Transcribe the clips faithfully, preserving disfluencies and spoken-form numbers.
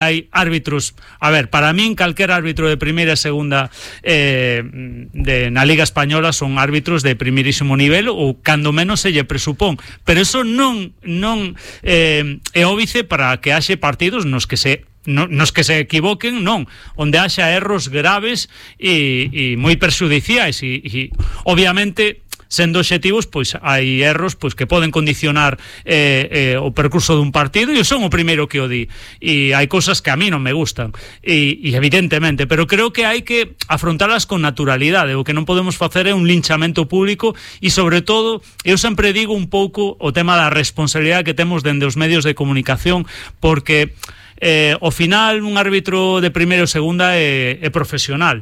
Hai árbitros, a ver, para min calquer árbitro de primeira e segunda eh, de, na Liga Española son árbitros de primeirísimo nivel ou cando menos se lle presupón, pero eso non non eh, é óbice para que haxe partidos nos que se no, nos que se equivoquen, non, onde haxa erros graves e, e moi perxudiciais e, e obviamente sendo obxectivos, pois hai erros pois que poden condicionar eh, eh, o percurso dun partido, e eu son o primeiro que o di, e hai cousas que a mí non me gustan e, e evidentemente, pero creo que hai que afrontalas con naturalidade. O que non podemos facer é un linchamento público, e sobre todo eu sempre digo un pouco o tema da responsabilidade que temos dende os medios de comunicación, porque eh, ao final un árbitro de primeira ou segunda é, é profesional.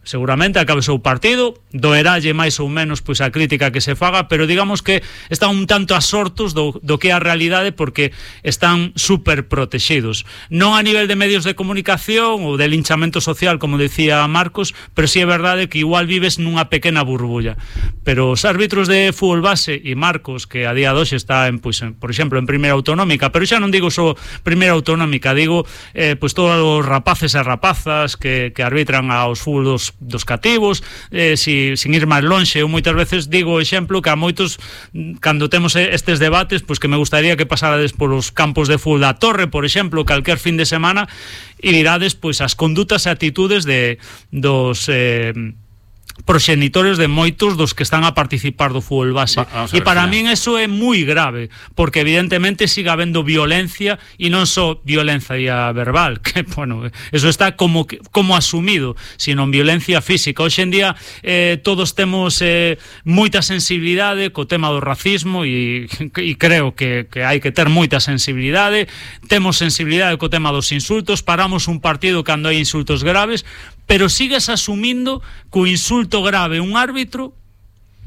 Seguramente acabe o seu partido, doeralle máis ou menos pois a crítica que se faga, pero digamos que están un tanto asortos do, do que é a realidade, porque están super protegidos. Non a nivel de medios de comunicación ou de linchamento social, como decía Marcos, pero sí é verdade que igual vives nunha pequena burbulla. Pero os árbitros de fútbol base, e Marcos, que a día de hoxe está en, pois, en, por exemplo, en primeira autonómica, pero xa non digo só primeira autonómica, digo eh, pois todos os rapaces e rapazas que, que arbitran aos fútbol dos dos cativos, eh, si, sin ir máis lonxe. Eu moitas veces digo o exemplo que a moitos, cando temos estes debates, pois que me gustaría que pasarades polos campos de fútbol da Torre, por exemplo, calquer fin de semana, e virades pois as condutas e atitudes de dos eh, proxenitores de moitos dos que están a participar do fútbol base. E para min eso é moi grave, porque evidentemente siga habendo violencia, e non só violencia verbal, que, bueno, eso está como como asumido, sino violencia física. Hoxe en día eh, todos temos eh, moita sensibilidade co tema do racismo, e, e creo que, que hai que ter moita sensibilidade. Temos sensibilidade co tema dos insultos, paramos un partido cando hai insultos graves, pero sigues asumindo que o insulto grave un árbitro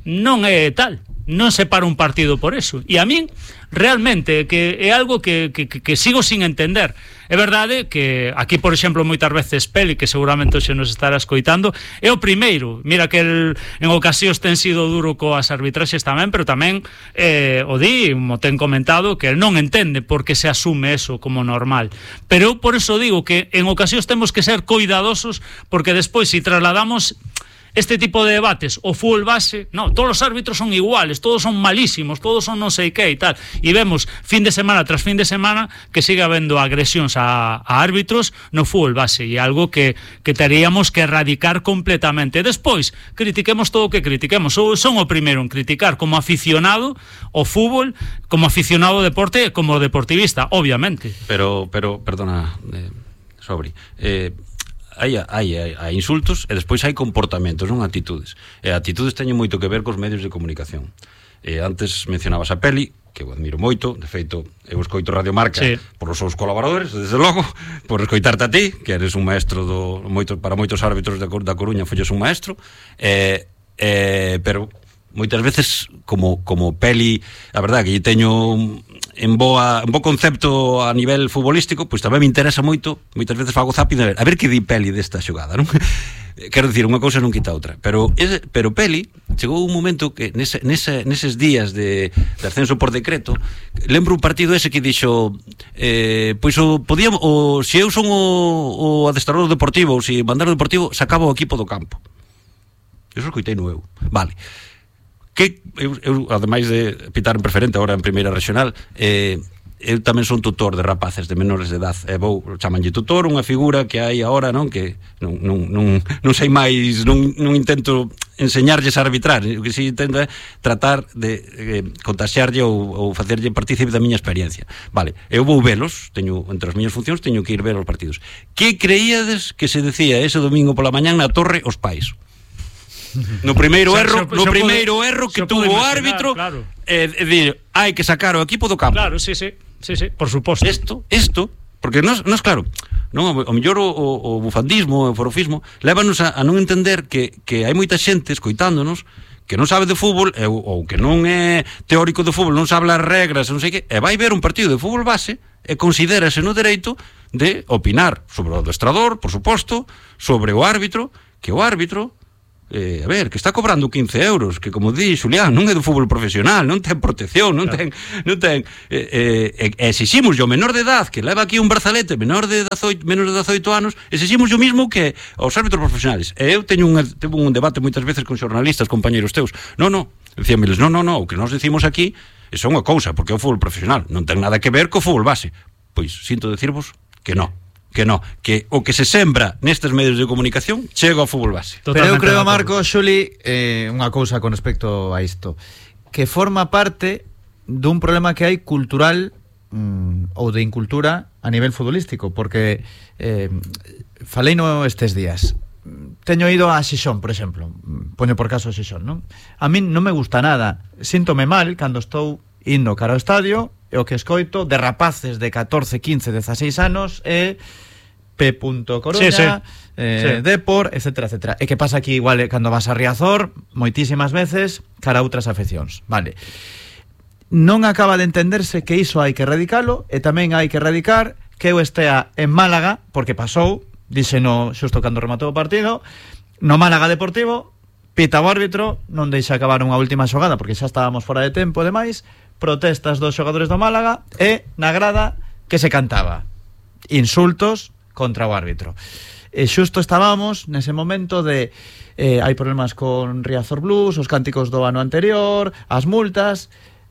non é tal, non se para un partido por eso. E a min realmente que é algo que, que, que sigo sin entender. É verdade que aquí, por exemplo, moitas veces Peli, que seguramente hoxe nos estará escoitando, é o primeiro. Mira que el, en ocasións ten sido duro coas arbitraxes tamén, pero tamén eh, o di, mo ten comentado, que el non entende por que se asume eso como normal. Pero eu por eso digo que en ocasións temos que ser coidadosos, porque despois, se si trasladamos este tipo de debates o fútbol base, no, todos os árbitros son iguales, todos son malísimos, todos son non sei que e tal, e vemos fin de semana tras fin de semana que sigue habendo agresións a, a árbitros no fútbol base, e algo que, que teríamos que erradicar completamente. Despois, critiquemos todo o que critiquemos. Eu son o primeiro en criticar como aficionado o fútbol, como aficionado ao deporte e como deportivista, obviamente. Pero, pero perdona, eh, Sobri, eh, Hai, hai, hai, hai insultos e despois hai comportamentos, non atitudes. E atitudes teñen moito que ver cos medios de comunicación. E antes mencionabas a Peli, que eu admiro moito, de feito, eu escoito Radio Marca sí. por os seus colaboradores, desde logo, por escoitarte a ti, que eres un maestro do, moito, para moitos árbitros da, da Coruña, folles un maestro, e, e, pero moitas veces, como, como Peli, a verdade que lle teño en boa, en bo concepto a nivel futbolístico, pois tamén me interesa moito, moitas veces fago zapping a ver, a ver que di Peli desta xogada, non? Quero dicir, unha cousa non quita outra, pero ese, pero Peli chegou un momento que nese, nese, neses días de, de ascenso por decreto, lembro un partido ese que dixo eh, pois o podíamos, o, se eu son o, o adestrador deportivo, ou se mandar o deportivo, sacaba o equipo do campo. Eso escoitei no eu. Vale. Que eu, eu, ademais de pitar en preferente agora en primeira regional, eh, eu tamén son tutor de rapaces de menores de edad, e vou, chamanlle tutor, unha figura que hai agora, non, que non, non, non, non sei máis, non, non intento enseñarlles a arbitrar, o que si intento é tratar de eh, contaxiarlle ou, ou facerlle partícipe da miña experiencia. Vale, eu vou velos, teño, entre as miñas funcións teño que ir ver os partidos. Que creíades que se decía ese domingo pola mañán na Torre os pais? No primeiro erro, no primeiro erro que tuvo o árbitro, claro. É eh, dir, hai que sacar o equipo do campo. Claro, sí, sí, sí, sí, por suposto. Isto, isto, porque non é claro, non, o mellor o, o, o bufandismo, o forofismo, lévanos a, a non entender que, que hai moita xente escoitándonos que non sabe de fútbol ou, ou que non é teórico de fútbol, non sabe as regras, non sei que, e vai ver un partido de fútbol base e considérase no dereito de opinar sobre o adestrador, por suposto, sobre o árbitro, que o árbitro eh, a ver, que está cobrando quince euros, que como di Xulián, non é do fútbol profesional, non ten protección, non ten, non ten eh, eh, exiximos o menor de edad que leva aquí un brazalete menor de dezoito, menos de dezoito anos, exiximos o mismo que aos árbitros profesionales. E eu teño un, teño un debate moitas veces con xornalistas, compañeros teus. Non, non, dicíameles, non, non, non, o que nós decimos aquí é unha cousa, porque é o fútbol profesional, non ten nada que ver co fútbol base. Pois sinto decirvos que non. Que no, que o que se sembra nestes medios de comunicación chega ao fútbol base. Pero eu creo, Marco, Xuli, eh, unha cousa con respecto a isto, que forma parte dun problema que hai cultural mm, ou de incultura a nivel futbolístico, porque eh, falei no estes días, teño ido a Xixón, por exemplo, poño por caso a Xixón, non? A min non me gusta nada, síntome mal cando estou indo cara ao estadio e o que escoito de rapaces de catorce, quince, dezaseis anos e P. Coruña, sí, sí. Eh, sí. Depor, etcétera, etcétera. E que pasa aquí igual eh, cando vas a Riazor moitísimas veces cara a outras afeccións, vale. Non acaba de entenderse que iso hai que erradicalo e tamén hai que erradicar que eu estea en Málaga, porque pasou, díxeno xusto cando rematou o partido, no Málaga Deportivo, pita o árbitro, non deixa acabar unha última xogada porque xa estábamos fora de tempo e demais, protestas dos xogadores do Málaga e na grada que se cantaba insultos contra o árbitro. E xusto estábamos nese momento de eh, hai problemas con Riazor Blues, os cánticos do ano anterior, as multas.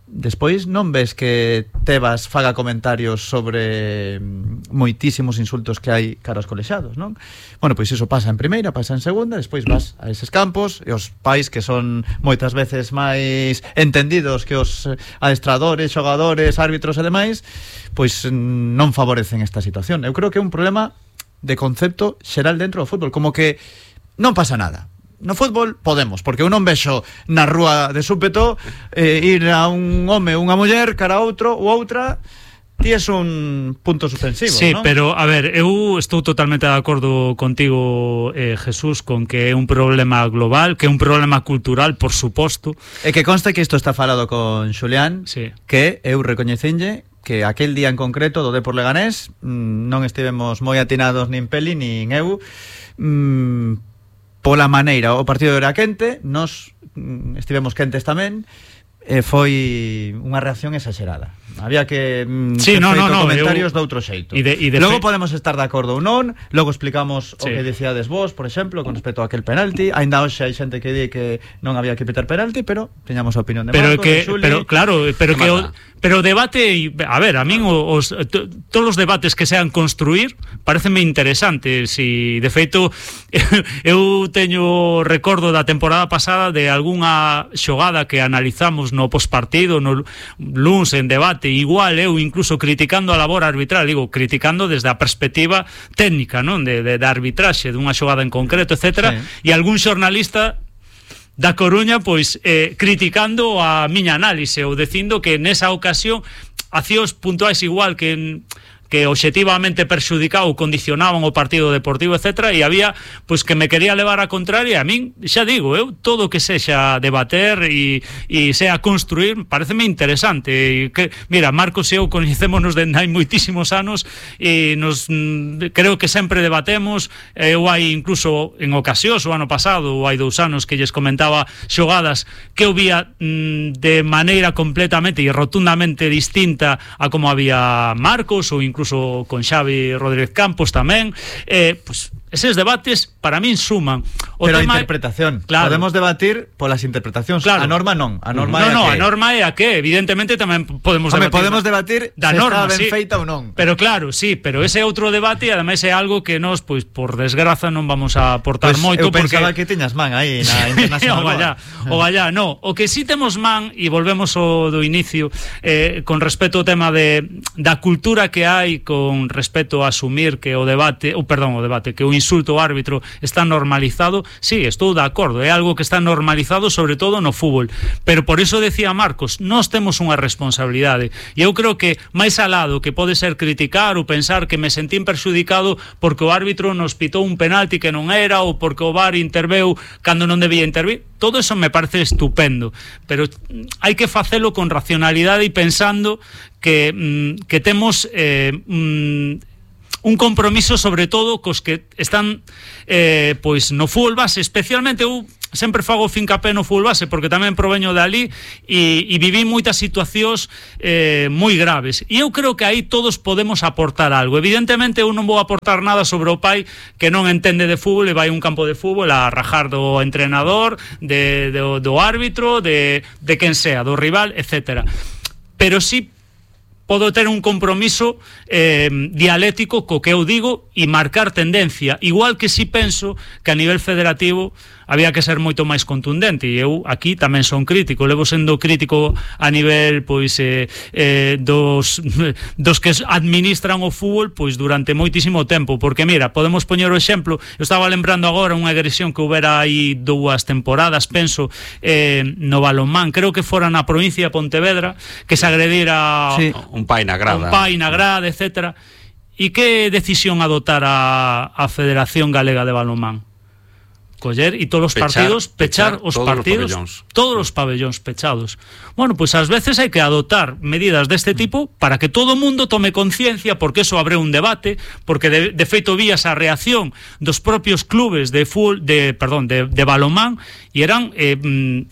Despois non ves que Tebas faga comentarios sobre moitísimos insultos que hai cara aos colexiados, non? Bueno, pois iso pasa en primeira, pasa en segunda, despois vas a eses campos e os pais que son moitas veces máis entendidos que os adestradores, xogadores, árbitros e demais, pois non favorecen esta situación. Eu creo que é un problema de concepto xeral dentro do fútbol, como que non pasa nada. No fútbol podemos, porque eu non vexo na rúa de súpeto eh, ir a un home ou unha muller cara a outro ou outra. Ti es un punto suspensivo, sí, ¿no? Pero, a ver, eu estou totalmente de acordo contigo, eh, Jesús, con que é un problema global, que é un problema cultural, por suposto. E que conste que isto está falado con Xulián, sí. Que eu recoñecenlle que aquel día en concreto do Depor Leganés non estivemos moi atinados nin Peli nin eu, mmm, pola maneira, o partido era quente, nos estivemos quentes tamén, e foi unha reacción exagerada. Había que mm, sí, no, no, no, comentarios eu... de outro xeito. E de, e de logo fe... podemos estar de acordo ou non, logo explicamos sí. O que dicíades vos, por exemplo, con respecto a aquel penalti. Ainda hoxe hai xente que di que non había que pitar penalti, pero teñamos a opinión de pero Marco, que, de Xuli. Pero claro, pero que o, pero o debate, a ver, a min os, to, todos os debates que sean construir pareceme interesante. Si de feito eu teño recordo da temporada pasada de algunha xogada que analizamos no pospartido, no luns en debate, igual eu incluso criticando a labor arbitral, digo, criticando desde a perspectiva técnica, non, de, de, de arbitraxe dunha xogada en concreto, etcétera, sí. E algún xornalista da Coruña, pois, eh, criticando a miña análise ou dicindo que nesa ocasión accións puntuais igual que que obxectivamente perxudicaba ou condicionaban o partido deportivo, etcétera, e había, pois, que me quería levar a contraria. A min, xa digo, eu todo o que sexa debater e, e sea construir, pareceme interesante. E que, mira, Marcos e eu coñecémonos dende hai moitísimos anos e nos, creo que sempre debatemos. Eu hai incluso en ocasións, o ano pasado ou hai dous anos, que lles comentaba xogadas que eu vía mm, de maneira completamente e rotundamente distinta a como había Marcos, ou incluso incluso con Xavi Rodríguez Campos tamén, eh, pues, eses debates para min suman. O pero tema a interpretación, claro. Podemos debatir polas interpretacións, claro. A norma non, a norma no, é no, a a norma é a que evidentemente tamén podemos Home, debatir. podemos debatir da se norma, está ben sí. feita ou non. Pero claro, sí, pero ese é outro debate e ademais é algo que nós, pois, por desgraza non vamos a aportar pues moito, eu porque pensaba que tiñas man aí na internacional. o vaya, o vaya, no, o que sí temos man, e volvemos ao do inicio, eh, con respecto ao tema de da cultura que hai con respecto a asumir que o debate, ou perdón, o debate, que o insulto ao árbitro está normalizado, sí, estou de acordo, é algo que está normalizado sobre todo no fútbol, pero por iso decía Marcos, nós temos unha responsabilidade, e eu creo que máis alado que pode ser criticar ou pensar que me sentín perxudicado porque o árbitro nos pitou un penalti que non era, ou porque o V A R interveu cando non debía intervir, todo eso me parece estupendo, pero hai que facelo con racionalidade e pensando que, mm, que temos eh, mm, un compromiso sobre todo cos que están eh, pois no fútbol base, especialmente eu sempre fago fincapé no fútbol base porque tamén proveño de ali e, e viví moitas situacións eh, moi graves, e eu creo que aí todos podemos aportar algo. Evidentemente eu non vou aportar nada sobre o pai que non entende de fútbol e vai a un campo de fútbol a rajar do entrenador, de, do, do árbitro, de, de quen sea, do rival, etcétera. Pero sí podo ter un compromiso eh, dialéctico co que eu digo e marcar tendencia, igual que si penso que a nivel federativo había que ser moito máis contundente, e eu aquí tamén son crítico, levo sendo crítico a nivel pois eh, eh, dos, dos que administran o fútbol pois durante moitísimo tempo, porque mira, podemos poñer o exemplo, eu estaba lembrando agora unha agresión que houbera aí dúas temporadas, penso, eh, no balonmán, creo que fora na provincia de Pontevedra, que se agredira sí. un pai na grada, un pai na grada, etcétera. E que decisión adoptar a, a Federación Galega de Balonmán? Coller e todos os pechar, partidos, pechar, pechar os todos partidos, os todos os pabellóns pechados. Bueno, pois pues ás veces hai que adoptar medidas deste tipo para que todo o mundo tome conciencia, porque eso abre un debate, porque de, de feito vías a reacción dos propios clubes de fútbol, de, perdón, de, de balonmán, e eran eh,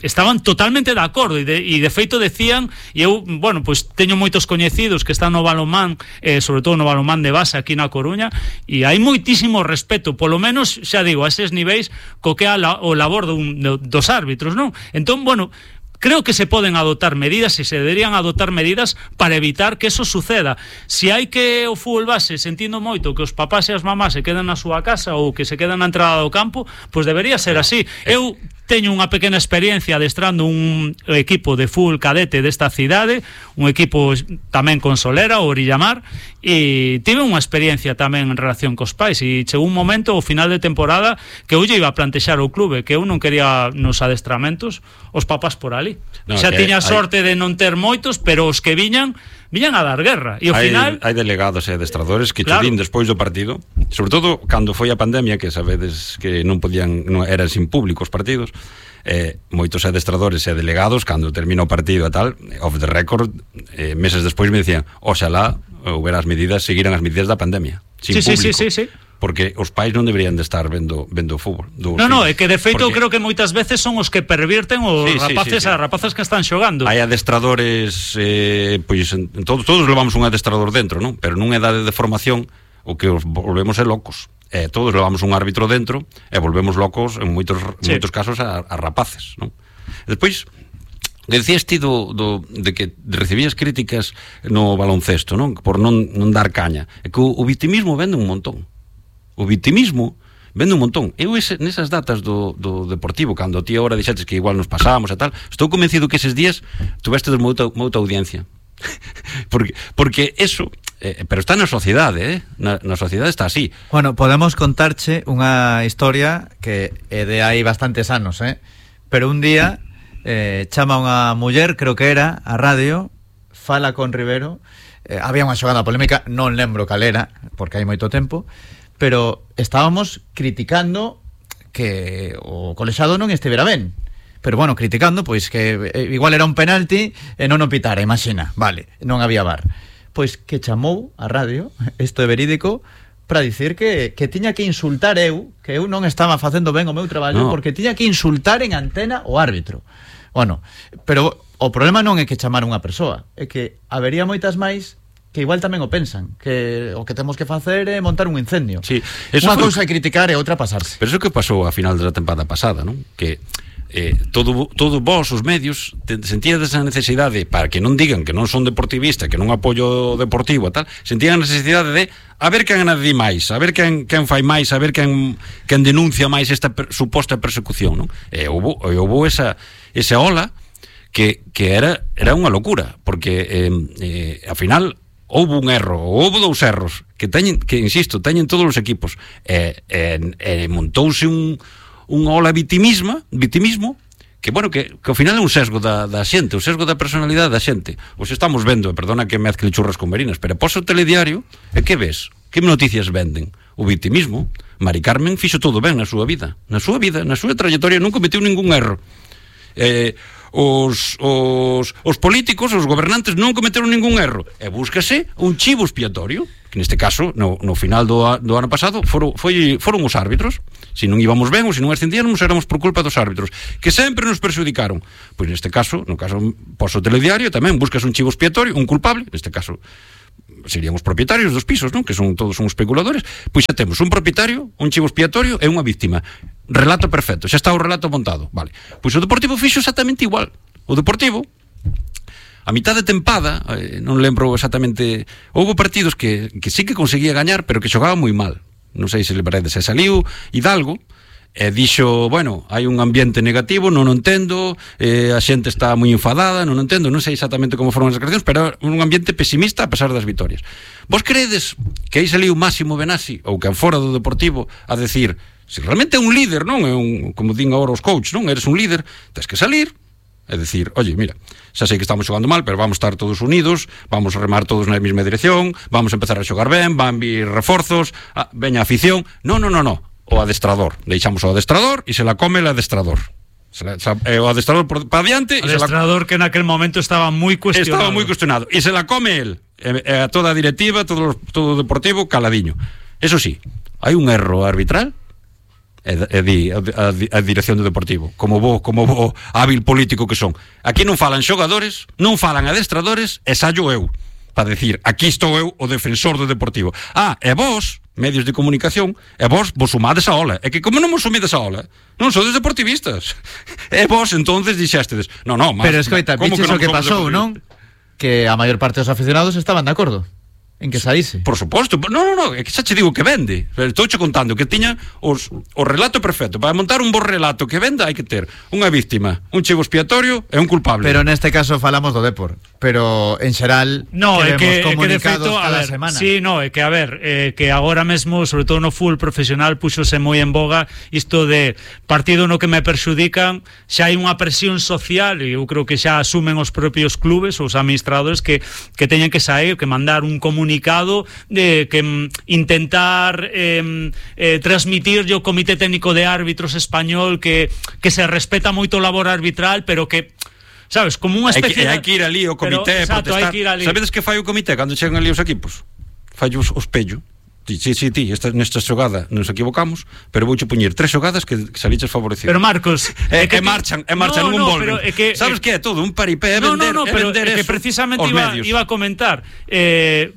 estaban totalmente de acordo e de, e de feito decían, e eu, bueno, pois pues, teño moitos coñecidos que están no balonmán, eh, sobre todo no balonmán de base aquí na Coruña, e hai moitísimo respeto, polo menos, xa digo, a eses niveis co que é la, o labor dun, dos árbitros, non? Entón, bueno, creo que se poden adoptar medidas e se deberían adoptar medidas para evitar que eso suceda. Si hai que o fútbol base, sentindo moito que os papás e as mamás se quedan na súa casa ou que se quedan na entrada do campo, pois debería ser así. Eu teño unha pequena experiencia adestrando un equipo de fútbol cadete desta cidade, un equipo tamén con Solera, o Orillamar, e tive unha experiencia tamén en relación cos pais, e chegou un momento ao final de temporada que eu iba a plantexar o clube que eu non quería nos adestramentos os papás por ali. No, xa tiña sorte hai... de non ter moitos, pero os que viñan viñan a dar guerra, e ao hai, final hai delegados e adestradores que claro. Chudín despois do partido, sobre todo cando foi a pandemia, que sabedes que non podían, non, eran sin público os partidos, eh, moitos adestradores e delegados cando termina o partido e tal, off the record, eh, meses despois me dicían, oxalá houbera as medidas, seguiran as medidas da pandemia sin sí, público, sí, sí, sí, sí. porque os pais non deberían de estar vendo vendo fútbol. No, no, é que de feito porque... creo que moitas veces son os que pervirten os sí, rapaces sí, sí, sí. as rapazas que están xogando. Hai adestradores, eh, pois en, en todos, todos levamos un adestrador dentro, non? Pero nunha edade de formación o que os volvemos é locos. Eh, todos levamos un árbitro dentro e volvemos locos en moitos sí. en moitos casos a, a rapaces, non? Despois que decías ti do, do, de que recibías críticas no baloncesto, non? Por non, non dar caña. É que o, o vitimismo vende un montón. O vitimismo vende un montón. Eu ese, nesas datas do, do Deportivo, cando ti agora dixetes que igual nos pasábamos e tal, estou convencido que eses días tuveste moita, moita audiencia. porque, porque eso, eh, pero está na sociedade, eh? na, na sociedade está así. Bueno, podemos contarche unha historia que é de hai bastantes anos, eh? Pero un día eh, chama unha muller, creo que era, a radio, fala con Rivero, eh, había unha xogada polémica, non lembro cal era, porque hai moito tempo, pero estábamos criticando que o colexado non estivera ben. Pero bueno, criticando, pois que igual era un penalti e non o pitara, imagina, vale, non había V A R. Pois que chamou a radio, isto é verídico, para dicir que, que tiña que insultar eu, que eu non estaba facendo ben o meu traballo, no. porque tiña que insultar en antena o árbitro. Bueno, pero o problema non é que chamar unha persoa, é que habería moitas máis que igual tamén o pensan, que o que temos que facer é montar un incendio. Sí, unha cousa é criticar e outra pasarse. Pero iso que pasou a final da tempada pasada, non? Que eh, todo, todo vos, os medios, sentíades a necesidade, para que non digan que non son deportivista, que non apoio deportivo e tal, sentían a necesidade de a ver quen anadi máis, a ver quen, quen fai máis, a ver quen, quen denuncia máis esta per, suposta persecución, non? E houve, houve esa, esa ola que, que era, era unha locura, porque eh, eh, ao final houve un erro, houve dous erros que teñen, que insisto, teñen todos os equipos e, e, e montouse un, un ola vitimismo, vitimismo que, bueno, que, que ao final é un sesgo da, da xente, o sesgo da personalidade da xente. Os estamos vendo, perdona que mezcle churras con merinas, pero poso o telediario e que ves? Que noticias venden? O vitimismo. Mari Carmen fixo todo ben na súa vida, na súa vida, na súa trayectoria non cometeu ningún erro. Eh, os, os, os políticos, os gobernantes non cometeron ningún erro, e búscase un chivo expiatorio, que neste caso no, no final do, do ano pasado foron, foi, foron os árbitros. Se non íbamos ben ou se non ascendíamos éramos por culpa dos árbitros, que sempre nos perxudicaron. Pois neste caso, no caso poso telediario, tamén buscas un chivo expiatorio, un culpable, neste caso serían os propietarios dos pisos, non? Que son todos uns especuladores. Pois xa temos un propietario, un chivo expiatorio e unha víctima. Relato perfecto, xa está o relato montado, vale. Pois o Deportivo fixo exactamente igual. O Deportivo, a mitad de tempada, eh, non lembro exactamente, houve partidos que, que sí que conseguía gañar, pero que xogaban moi mal. Non sei se lembraredes, se saliu Hidalgo e dixo, bueno, hai un ambiente negativo, non o entendo, eh, a xente está moi enfadada, non o entendo, non sei exactamente como foron as declaracións, pero un ambiente pesimista a pesar das vitorias. Vos credes que aí saliu Máximo Benassi, ou que fora do Deportivo, a decir, se realmente é un líder, non é un, como din agora os coach, non, eres un líder, tens que salir, é dicir, oye, mira, xa sei que estamos xogando mal, pero vamos estar todos unidos, vamos a remar todos na mesma dirección, vamos a empezar a xogar ben, van vir reforzos, ah, veña a afición. Non, non, non, non. O adestrador, deixamos o adestrador e se la come el adestrador. Se la, se, eh, o adestrador por, para diante, adestrador la, que naquel momento estaba moi cuestionado. Estaba moi cuestionado e se la come el, e, e a toda a directiva, todo, todo o Deportivo caladiño. Eso sí, hai un erro arbitral e, e di a, a, a dirección do Deportivo, como bo, como bo hábil político que son. Aquí non falan xogadores, non falan adestradores e sallo eu para decir, aquí estou eu o defensor do Deportivo. Ah, e vos, medios de comunicación, e vos vos sumades a ola. É que como non vos sumides a ola, non sodes deportivistas. E vos entonces dixéstedes, non, non, pero escoita, viches o que pasou, non? Que a maior parte dos aficionados estaban de acordo en que saíse. Por suposto, non, non, non, é que xa che digo que vende. Estou che contando que tiña os, o relato perfecto. Para montar un bo relato que venda hai que ter unha víctima, un chivo expiatorio e un culpable. Pero neste caso falamos do Depor. Pero en xeral no, é que, comunicados é que de feito, cada a ver, semana. Sí, no, é que a ver, eh, que agora mesmo, sobre todo no fútbol profesional, puxose moi en boga isto de partido no que me perxudican, xa hai unha presión social e eu creo que xa asumen os propios clubes, os administradores que, que teñen que sair, que mandar un comunicado de que mm, intentar eh, eh, transmitir o Comité Técnico de Árbitros español que, que se respeta moito o labor arbitral, pero que sabes, como unha especie de... Hai que ir ali o comité pero, exacto, protestar. Hai que ir ali. Sabedes que fai o comité cando chegan ali os equipos? Fai os, os pello. Sí, sí, sí, ti, esta, nesta xogada nos equivocamos, pero vouche poñer tres xogadas que, que saliches favorecido. Pero Marcos, é que, que marchan, é marchan, no, non no, volven. É que, sabes que é todo un paripé, é no, vender, no, no, é pero vender é que eso, precisamente iba, iba a comentar. Eh,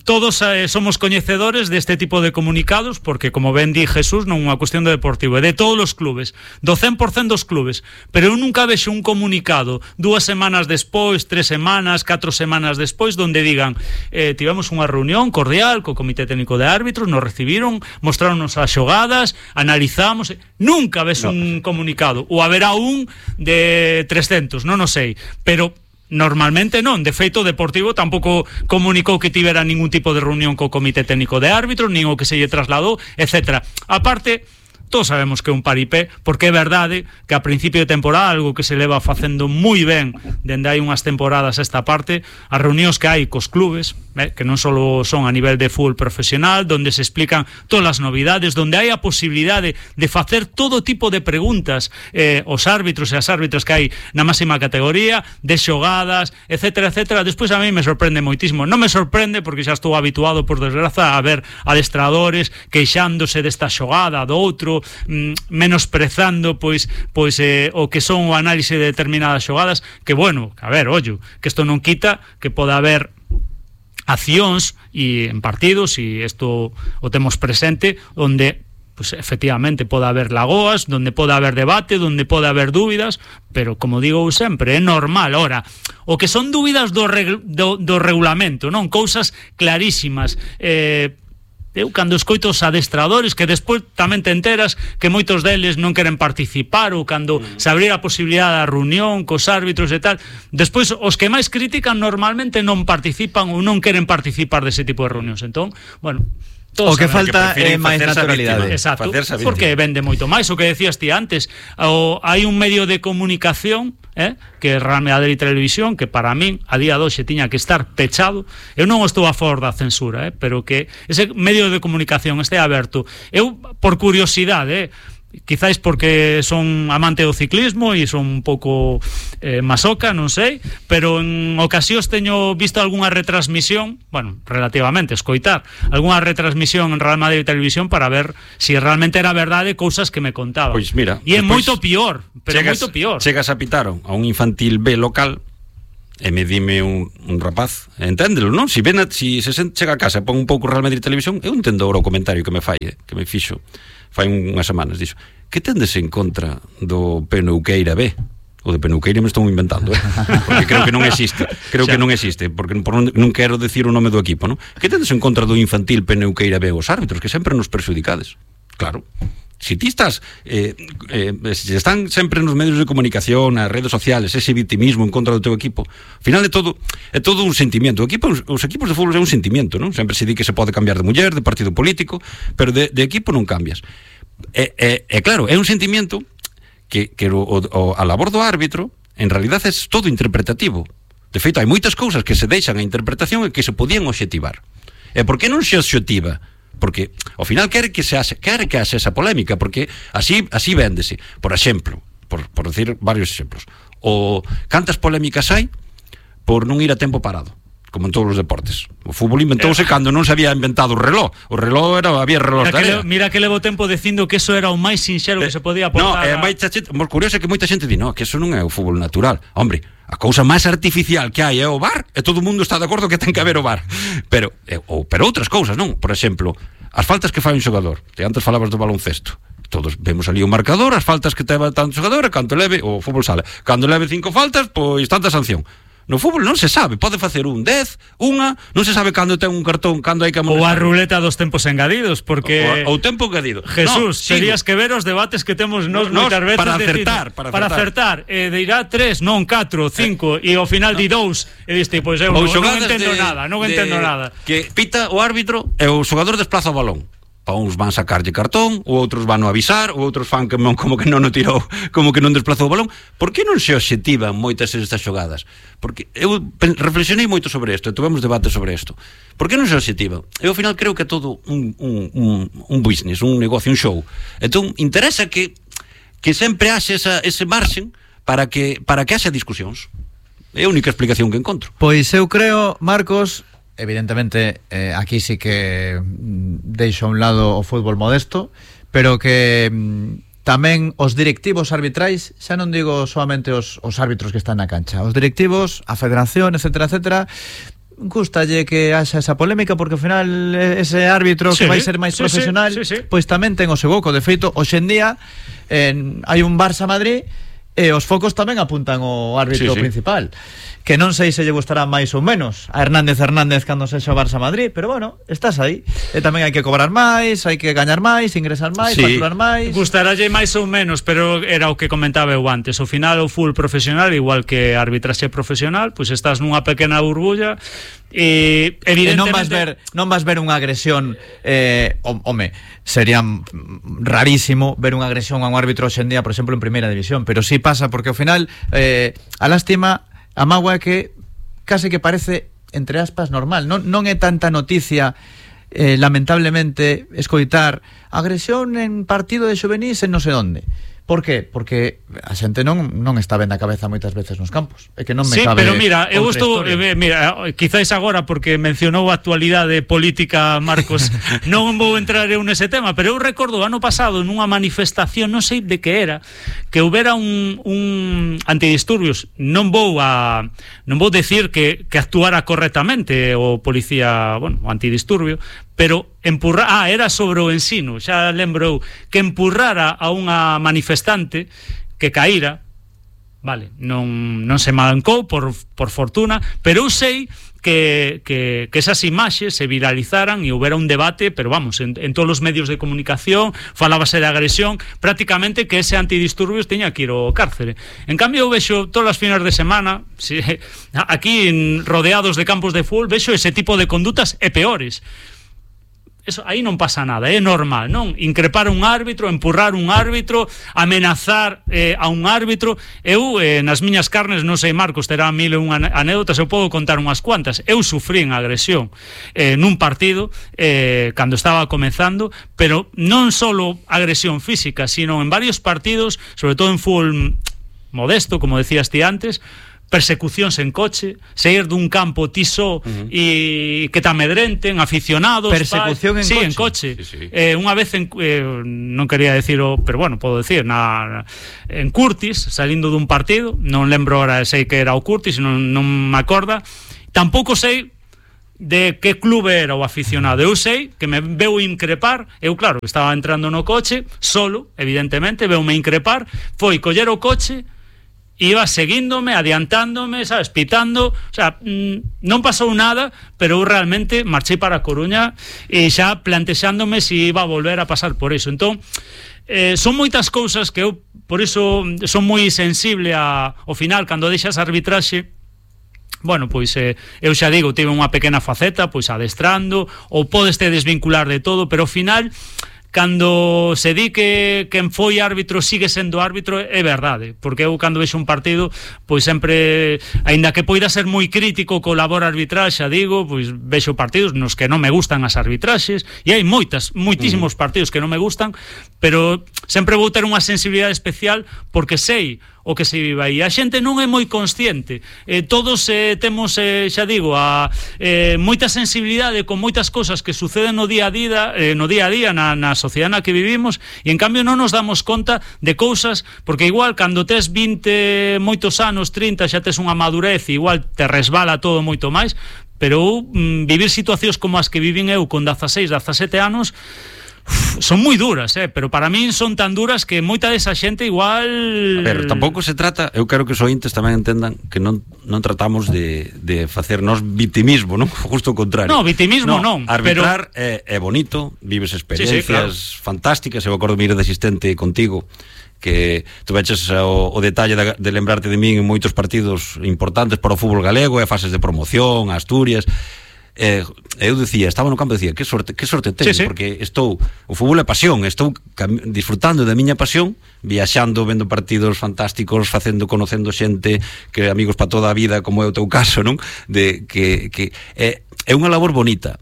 todos eh, somos coñecedores deste tipo de comunicados, porque como ben di Jesús, non é unha cuestión de Deportivo, é de todos os clubes, do cen por cen dos clubes, pero eu nunca vexo un comunicado dúas semanas despois, tres semanas, catro semanas despois, donde digan, eh, tivemos unha reunión cordial co Comité Técnico de Árbitros, nos recibimos, mostráronos as xogadas, analizamos, nunca ves no. un comunicado, ou haberá un de trescentos, non o sei, pero normalmente non. De feito, o Deportivo tampouco comunicou que tivera ningún tipo de reunión co Comité Técnico de Árbitros, nin o que se lle trasladou, etcétera. A parte, todos sabemos que é un paripé, porque é verdade que a principio de temporada, algo que se leva facendo moi ben dende hai unhas temporadas a esta parte, as reunións que hai cos clubes, eh, que non só son a nivel de fútbol profesional, donde se explican todas as novidades, donde hai a posibilidade de facer todo tipo de preguntas eh, aos árbitros e as árbitras que hai na máxima categoría, de xogadas, etcétera, etcétera. Despois a mí me sorprende moitísimo. Non me sorprende porque xa estou habituado, por desgraza, a ver adestradores queixándose desta xogada, do outro, menosprezando pois pois eh, o que son o análise de determinadas xogadas, que bueno, a ver, ollo, que isto non quita que poda haber accións e en partidos, e isto o temos presente, onde pues efectivamente pode haber lagoas, donde pode haber debate, donde pode haber dúbidas, pero como digo sempre, é normal. Ora, o que son dúbidas do, reg, do, do regulamento, non? Cousas clarísimas, eh eu cando escoito os adestradores que despois tamén te enteras que moitos deles non queren participar, ou cando mm. se abrir a posibilidade da reunión cos árbitros e tal, despois os que máis critican normalmente non participan ou non queren participar dese tipo de reunións. Entón, bueno, o que falta é máis naturalidade. Exacto, porque vende moito máis. O que decías ti antes, o, hai un medio de comunicación, eh, que é Real Madrid Televisión, que para min a día de hoxe tiña que estar pechado. Eu non estou a favor da censura, eh, pero que ese medio de comunicación este aberto. Eu, por curiosidade, eh, quizáis porque son amante do ciclismo e son un pouco eh, masoca, non sei, pero en ocasións teño visto algunha retransmisión, bueno, relativamente, escoitar algunha retransmisión en Real Madrid Televisión para ver se si realmente era verdade cousas que me contaban. Pois mira, e é moito pior, pero chegas, moito pior. Chegas a pitaron a un infantil B local e me dime un, un rapaz, enténdelo, non? Si, ven a, si se sent, chega a casa e pon un pouco Real Madrid Televisión, eu entendo agora o comentario que me fai, que me fixo fai unhas semanas, dixo, que tendes en contra do Penuqueira B? O de Penuqueira me estou inventando, eh? Porque creo que non existe, creo que non existe, porque por non, non quero decir o nome do equipo, non? Que tendes en contra do infantil Penuqueira B? Os árbitros que sempre nos perxudicades. Claro. Si ti estás eh, eh, si están sempre nos medios de comunicación, nas redes sociales, ese victimismo en contra do teu equipo, ao final é todo é todo un sentimiento. O equipo, os equipos de fútbol é un sentimiento, non? Sempre se di que se pode cambiar de muller, de partido político, pero de, de equipo non cambias. É, é, é claro, é un sentimiento que, que o, o, a labor do árbitro en realidad é todo interpretativo. De feito, hai moitas cousas que se deixan a interpretación e que se podían obxectivar. E por que non se obxectiva? Porque ao final quere que se hace, quere que hace esa polémica, porque así así véndese. Por exemplo, por, por decir varios exemplos, o cantas polémicas hai por non ir a tempo parado, como en todos os deportes. O fútbol inventouse eh. cando non se había inventado o reloj. O reloj era, había reloj mira, que le, mira que levo tempo dicindo que eso era o máis sinxelo eh, que se podía aportar. No, é moita xente, moi curioso é que moita xente di, no, que eso non é o fútbol natural. Hombre, a cousa máis artificial que hai é o V A R, e todo o mundo está de acordo que ten que haber o V A R. Pero, eh, ou, pero outras cousas, non? Por exemplo, as faltas que fai un xogador. Te antes falabas do baloncesto. Todos vemos ali o marcador, as faltas que teva tanto xogador, e canto leve, o fútbol sala. Cando leve cinco faltas, pois tanta sanción. No fútbol non se sabe, pode facer un dez, unha, non se sabe cando ten un cartón, cando hai que amonestar. Ou a ruleta dos tempos engadidos, porque o, o tempo engadido. Jesús, no, terías que ver os debates que temos nos no, moitas veces para acertar, para, para acertar, eh, dirá tres, non catro, cinco eh, e ao final no. di dous, e diste, pois eu non, non entendo de, nada, non de, entendo nada. Que pita o árbitro e o xogador desplaza o balón. Pa uns van sacarlle cartón, ou outros van a avisar, ou outros fan que non, como que non o tirou, como que non desplazou o balón. Por que non se obxectivan moitas estas xogadas? Porque eu reflexionei moito sobre isto, e tivemos debate sobre isto. Por que non se obxectivan? Eu ao final creo que é todo un, un, un, un business, un negocio, un show. Entón, interesa que que sempre haxe esa, ese marxen para que, para que haxe discusións. É a única explicación que encontro. Pois eu creo, Marcos, evidentemente eh, aquí sí que deixo a un lado o fútbol modesto, pero que mm, tamén os directivos arbitrais, xa non digo solamente os, os árbitros que están na cancha, os directivos, a federación, etcétera, etcétera, gustalle que haxa esa polémica, porque ao final ese árbitro sí, que vai ser máis sí, profesional sí, sí, sí. pois tamén ten o seu boco. De feito, hoxe en día en, hai un Barça Madrid e os focos tamén apuntan ao árbitro sí, sí. principal, que non sei se lle gustará máis ou menos a Hernández Hernández cando sexa o Barça Madrid, pero bueno, estás aí, e tamén hai que cobrar máis, hai que gañar máis, ingresar máis, sí. facturar máis. Gustarálle máis ou menos, pero era o que comentaba eu antes, ao final o full profesional, igual que a arbitraxe profesional, pois estás nunha pequena burbulla e evidentemente e non vas ver, non vas ver unha agresión eh, home, sería rarísimo ver unha agresión a un árbitro hoxe en día, por exemplo, en primeira división, pero sí pasa, porque ao final eh, a lástima, a mágoa é que case que parece, entre aspas, normal. Non, non é tanta noticia, eh, lamentablemente, escoitar agresión en partido de xuvenís en non sei onde. Por que? Porque a xente non non está ben da cabeza moitas veces nos campos. É que non me sí, cabe. Sí, pero mira, eu estou eh, mira, quizáis agora porque mencionou a actualidade política Marcos, non vou entrar eu nese tema, pero eu recordo o ano pasado nunha manifestación, non sei de que era, que houbera un un antidisturbios. Non vou a non vou decir que que actuara correctamente o policía, bueno, o antidisturbio, pero empurra, ah, era sobre o ensino, xa lembrou que empurrara a unha manifestante que caíra, vale, non, non se mancou por, por fortuna, pero eu sei que, que, que esas imaxes se viralizaran e houbera un debate, pero vamos, en, en todos os medios de comunicación falábase de agresión, prácticamente que ese antidisturbios teña que ir ao cárcere. En cambio eu vexo todas as finas de semana, si, aquí en, rodeados de campos de fútbol, vexo ese tipo de condutas e peores. eso, aí non pasa nada, é normal, non? Increpar un árbitro, empurrar un árbitro, amenazar eh, a un árbitro. Eu, eh, nas miñas carnes, non sei, Marcos, terá mil e unha anécdotas, eu podo contar unhas cuantas. Eu sufrín agresión eh, nun partido eh, cando estaba comenzando, pero non solo agresión física, sino en varios partidos, sobre todo en fútbol modesto, como decías ti antes, persecucións en coche, sair dun campo ti só uh-huh. e que te amedrenten, aficionados. Persecución pa... en sí, coche. en coche. Sí, sí. Eh, unha vez en, eh, non quería decirlo, pero bueno, podo decir, na, en Curtis, salindo dun partido, non lembro ahora, sei que era o Curtis, non, non me acorda, tampouco sei de que clube era o aficionado. Eu sei que me veu increpar, eu claro, estaba entrando no coche, solo, evidentemente, veume increpar, foi coller o coche, iba seguíndome, adiantándome, sabes, pitando, o sea, mmm, non pasou nada, pero eu realmente marchei para a Coruña e xa plantexándome se si iba a volver a pasar por iso. Entón, eh, son moitas cousas que eu, por iso, son moi sensible a, ao final, cando deixas arbitraxe. Bueno, pois eh, eu xa digo, tive unha pequena faceta, pois adestrando, ou podes te desvincular de todo, pero ao final, cando se di que quen foi árbitro sigue sendo árbitro, é verdade, porque eu cando vexo un partido, pois sempre, aínda que poida ser moi crítico co labor arbitral, xa digo, pois vexo partidos nos que non me gustan as arbitraxes, e hai moitas, moitísimos partidos que non me gustan, pero sempre vou ter unha sensibilidade especial porque sei o que se vive aí. A xente non é moi consciente. Eh, todos eh, temos, eh, xa digo, a, eh, moita sensibilidade con moitas cosas que suceden no día a día, eh, no día a día na, na sociedade na que vivimos, e en cambio non nos damos conta de cousas, porque igual cando tes vinte moitos anos, trinta, xa tes unha madurez, e igual te resbala todo moito máis, pero mm, vivir situacións como as que vivín eu con dezaseis, dezasete anos, son moi duras, eh, pero para min son tan duras que moita desa xente igual... A ver, tampouco se trata, eu quero que os ointes tamén entendan que non, non tratamos de, de facernos vitimismo, non? Justo o contrario. No, vitimismo non, non arbitrar pero... é, é bonito, vives experiencias sí, sí, claro. fantásticas. Eu acordo ir de asistente contigo, que tu veches o, o detalle de, de lembrarte de min en moitos partidos importantes para o fútbol galego, e fases de promoción, Asturias. Eh, eu dicía, estaba no campo e dicía, que sorte, que sorte teño, sí, sí. Porque estou, o fútbol é pasión, estou disfrutando da miña pasión, viaxando, vendo partidos fantásticos, facendo, conocendo xente, que amigos para toda a vida, como é o teu caso, non? De que, que é, é unha labor bonita,